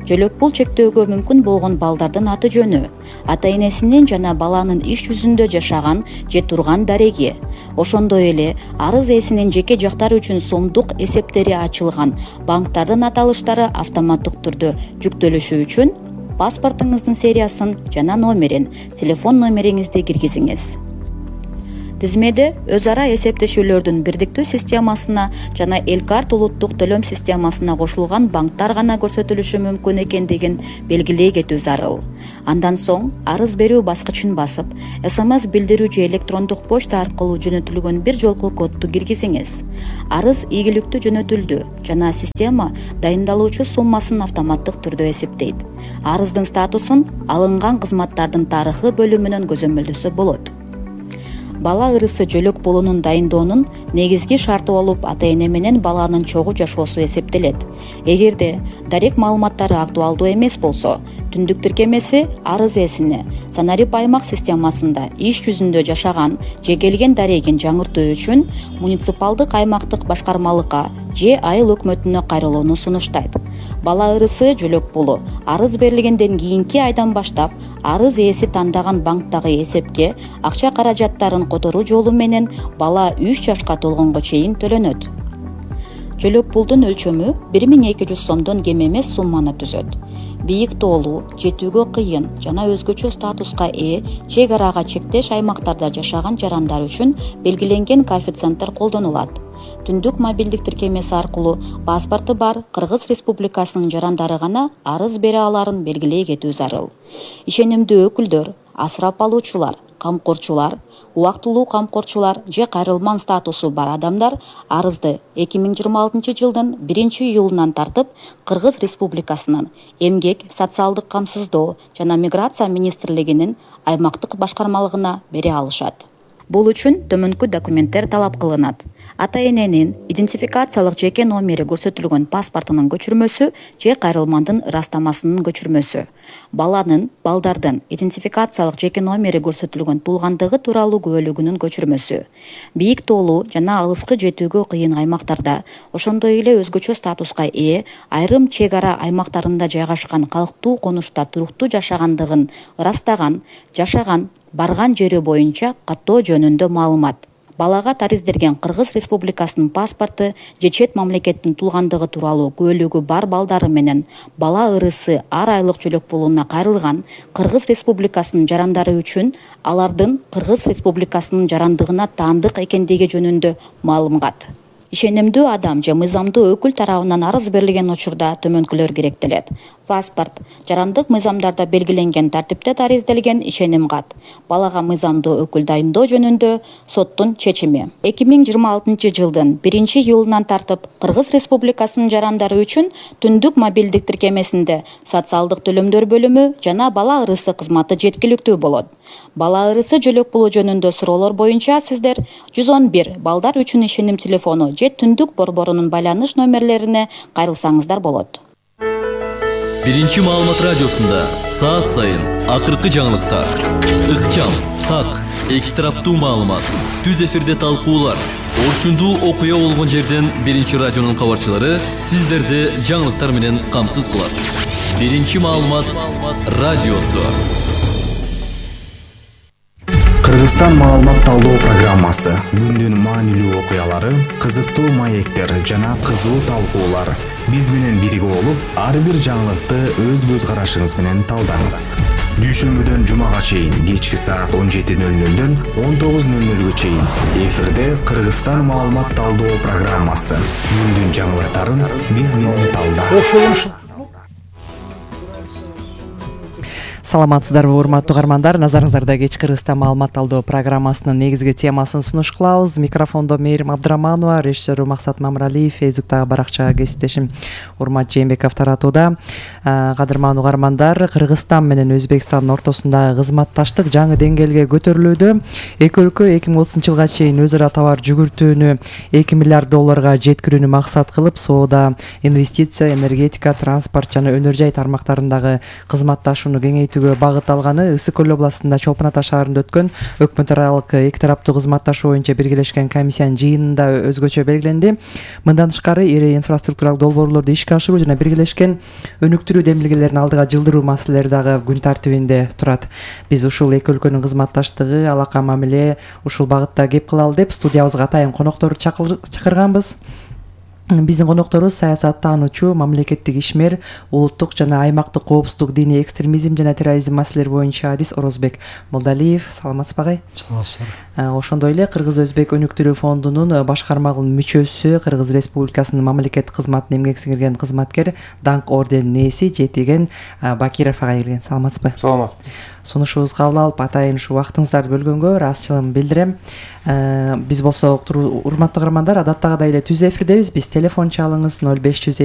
Speaker 16: жөлөк пул чектөөгө мүмкүн болгон балдардын аты жөнү, ата-энесинин жана баланын иш жүзүндө жашаган же турган дареги, ошондой эле арыз ээсинин жеке жактары үчүн сомдук эсептери ачылган банктардын аталыштары автоматтык түрдө жүктөлүшү үчүн паспортуңуздун сериясын жана номерин, телефон номериңизди киргизиңиз. Тизмеде өз ара эсептешүүлөрдүн бирдиктүү системасына жана Элкарт улуттук төлөм системасына кошулган банктар гана көрсөтүлүшү мүмкүн экендигин белгилей кетүү зарыл. Андан соң арыз берүү баскычын басып, СМС билдирүү же электрондук почта аркылуу жөнөтүлгөн бир жолку кодду киргизиңиз. Арыз ийгиликтүү жөнөтүлдү жана система дайындалуучу суммасын автоматтык түрдө эсептейт. Арыздын статусун алынган кызматтардын тарыхы бөлүмүнөн көзөмөлдөсө болот. Бала ырысы жөлөк пулунун дайындоонун негизги шарты болуп, ата-эне менен баланын чогуу жашоосу эсептелет. Эгерде дарек маалыматтары актуалдуу эмес болсо, түндүк тиркемеси арыз ээсине санарип аймак системасында иш жүзүндө жашаган же келген дарегин жаңыртуу үчүн муниципалдык аймактык башкармалыкка же айыл өкмөтүнө кайрылууну сунуштайт. Бала ырысы жөлөк пулу арыз берилгенден кийинки айдан баштап арыз ээси тандаган банктагы эсепке акча каражаттарын которуу жолу менен бала 3 жашка толгонго чейин төлөнөт. Жөлөк пулдун өлчөмү 1200 сомдон кем эмес сумманы түзөт. Бийик тоолуу, жетүүгө кыйын жана өзгөчө статуска ээ чек арага чектеш аймактарда жашаган жарандар үчүн белгиленген коэффициенттер колдонулат. Түндүк мобилдик тиркемеси аркылуу паспорту бар Кыргыз Республикасынын жарандары гана арыз бере аларын белгилей кетүү зарыл. Ишенимдүү өкүлдөр, асырап алуучулар, камкорчулар, убактылуу камкорчулар же кайрылман статусу бар адамдар арызды 2026 жылдын 1-июлунан тартып Кыргыз Республикасынын Эмгек, социалдык камсыздоо жана миграция министрлигинин аймактык башкармалыгына бере алышат. Бул үчүн төмөнкү документтер талап кылынат. Ата-эненин идентификациялык жеке номери көрсөтүлгөн паспортунун көчүрмөсү же кайрылмандын ырастамасынын көчүрмөсү. Балдардын идентификациялык жеке номери көрсөтүлгөн туулгандыгы тууралуу күбөлүгүнүн көчүрмөсү. Бийик тоолуу жана алыскы жетүүгө кыйын аймактарда, ошондой эле өзгөчө статуска ээ айрым чек ара аймактарында жайгашкан калктуу конушта туруктуу жашагандыгын ырастаган, жашаган, барган жери боюнча каттоо жөнүндө маалымат. Балага таризделген Кыргыз Республикасынын паспорту же чет мамлекеттин туулгандыгы тууралуу күбөлүгү бар балдары менен бала ырысы ар айлык жөлөк пулуна кайрылган Кыргыз Республикасынын жарандары үчүн алардын Кыргыз Республикасынын жарандыгына таандык экендиги жөнүндө маалымат. Ишенимдүү адам же мыйзамдуу өкүл тарабынан арыз берилген учурда төмөнкүлөр керектелет. Паспорт, жарандык мыйзамдарда белгиленген тартипте таризделген ишеним кат. Балага мыйзамдуу өкүл дайындоо жөнүндө соттун чечими. 2026 жылдын 1-июлунан тартып Кыргыз Республикасынын жарандары үчүн түндүк мобилдик тиркемесинде социалдык төлөмдөр бөлүмү жана бала ырысы кызматы жеткиликтүү болот. Бала ырысы жөлөк пулу жөнүндө суроолор боюнча сиздер 111 балдар үчүн ишеним телефону же түндүк борборунун байланыш номерлерине кайрылсаңыздар болот.
Speaker 18: Биринчи маалымат радиосунда саат сайын акыркы жаңылыктар, ыкчам, так, эки тараптуу маалымат, түз эфирде талкуулар, орчундуу окуя болгон жерден биринчи радионун кабарчылары сиздерди жаңылыктар менен камсыз кылат. Биринчи маалымат радиосу.
Speaker 19: Кыргызстан маалымат талдоо программасы. Күндүн маанилүү окуялары, кызыктуу маектер жана кызуу талкуулар. Биз менен бирге болуп, ар бир жаңылыкты өз көз карашыңыз менен талдаңыз. Дүйшөмбүдөн жумага чейин кечки саат 17:00дөн 19:00 чейин эфирде Кыргызстан маалымат талдоо программасы. Күндүн жаңылыктарын биз менен талда.
Speaker 20: саламатсыздарбы урматтуу угармандар, назарыңыздарда кеч Кыргызстан маалымат алдоо программасынын негизги темасын сунуш кылабыз. Микрофондо Мээрим Абдыраманова, режиссер Максат Мамыралиев, Фейсбуктагы баракча кесиптешим Урмат Жээнбеков таратууда. Кадырман угармандар, Кыргызстан менен Өзбекстандын ортосундагы кызматташтык жаңы деңгээлге көтөрүлүүдө. Эки өлкө 2030-жылга чейин өз ара товар жүгүртүүнү $2 миллиард жеткирүүнү максат кылып, соода, инвестиция, энергетика, транспорт жана өнөр жай тармактарындагы кызматташууну кеңейтүүгө багыт алганы Ысык көл областында Чолпон Ата шаарында өткөн өкмөт аралык эки тараптуу кызматташуу боюнча биргелешкен комиссиянын жыйынында өзгөчө белгиленди. Мындан тышкары ири инфраструктуралык долбоорлорду ишке ашыруу жана биргелешкен өнүктүрүү демилгелерин алдыга жылдыруу маселелери дагы күн тартибинде турат. Биз ушул эки өлкөнүн кызматташтыгы, алака мамиле ушул багытта кеп кылалы деп студиябызга атайын конокторду чакырганбыз. Биздин конокторубуз саясаттануучу, мамлекеттик ишмер, улуттук жана аймактык коопсуздук, диний экстремизм жана терроризм маселелери боюнча адис Орозбек Молдалиев. Саламатсызбы агай?
Speaker 21: Саламатсыздар.
Speaker 20: Ошондой эле Кыргыз-Өзбек өнүктүрүү фондунун башкармалыгынын мүчөсү, Кыргыз Республикасынын мамлекеттик кызматына эмгек сиңирген кызматкер, даңк орденинин ээси Жетиген Бакиров агай келген. Саламатсызбы?
Speaker 21: Саламатсызбы.
Speaker 20: Сунушубузду кабыл алып, атайын ушу убактыңыздарды бөлгөнгө ыраазычылыгымды билдирем. Биз болсо урматтуу угармандар, адаттагыдай эле түз эфирдебиз. Биз телефон чалыңыз 0502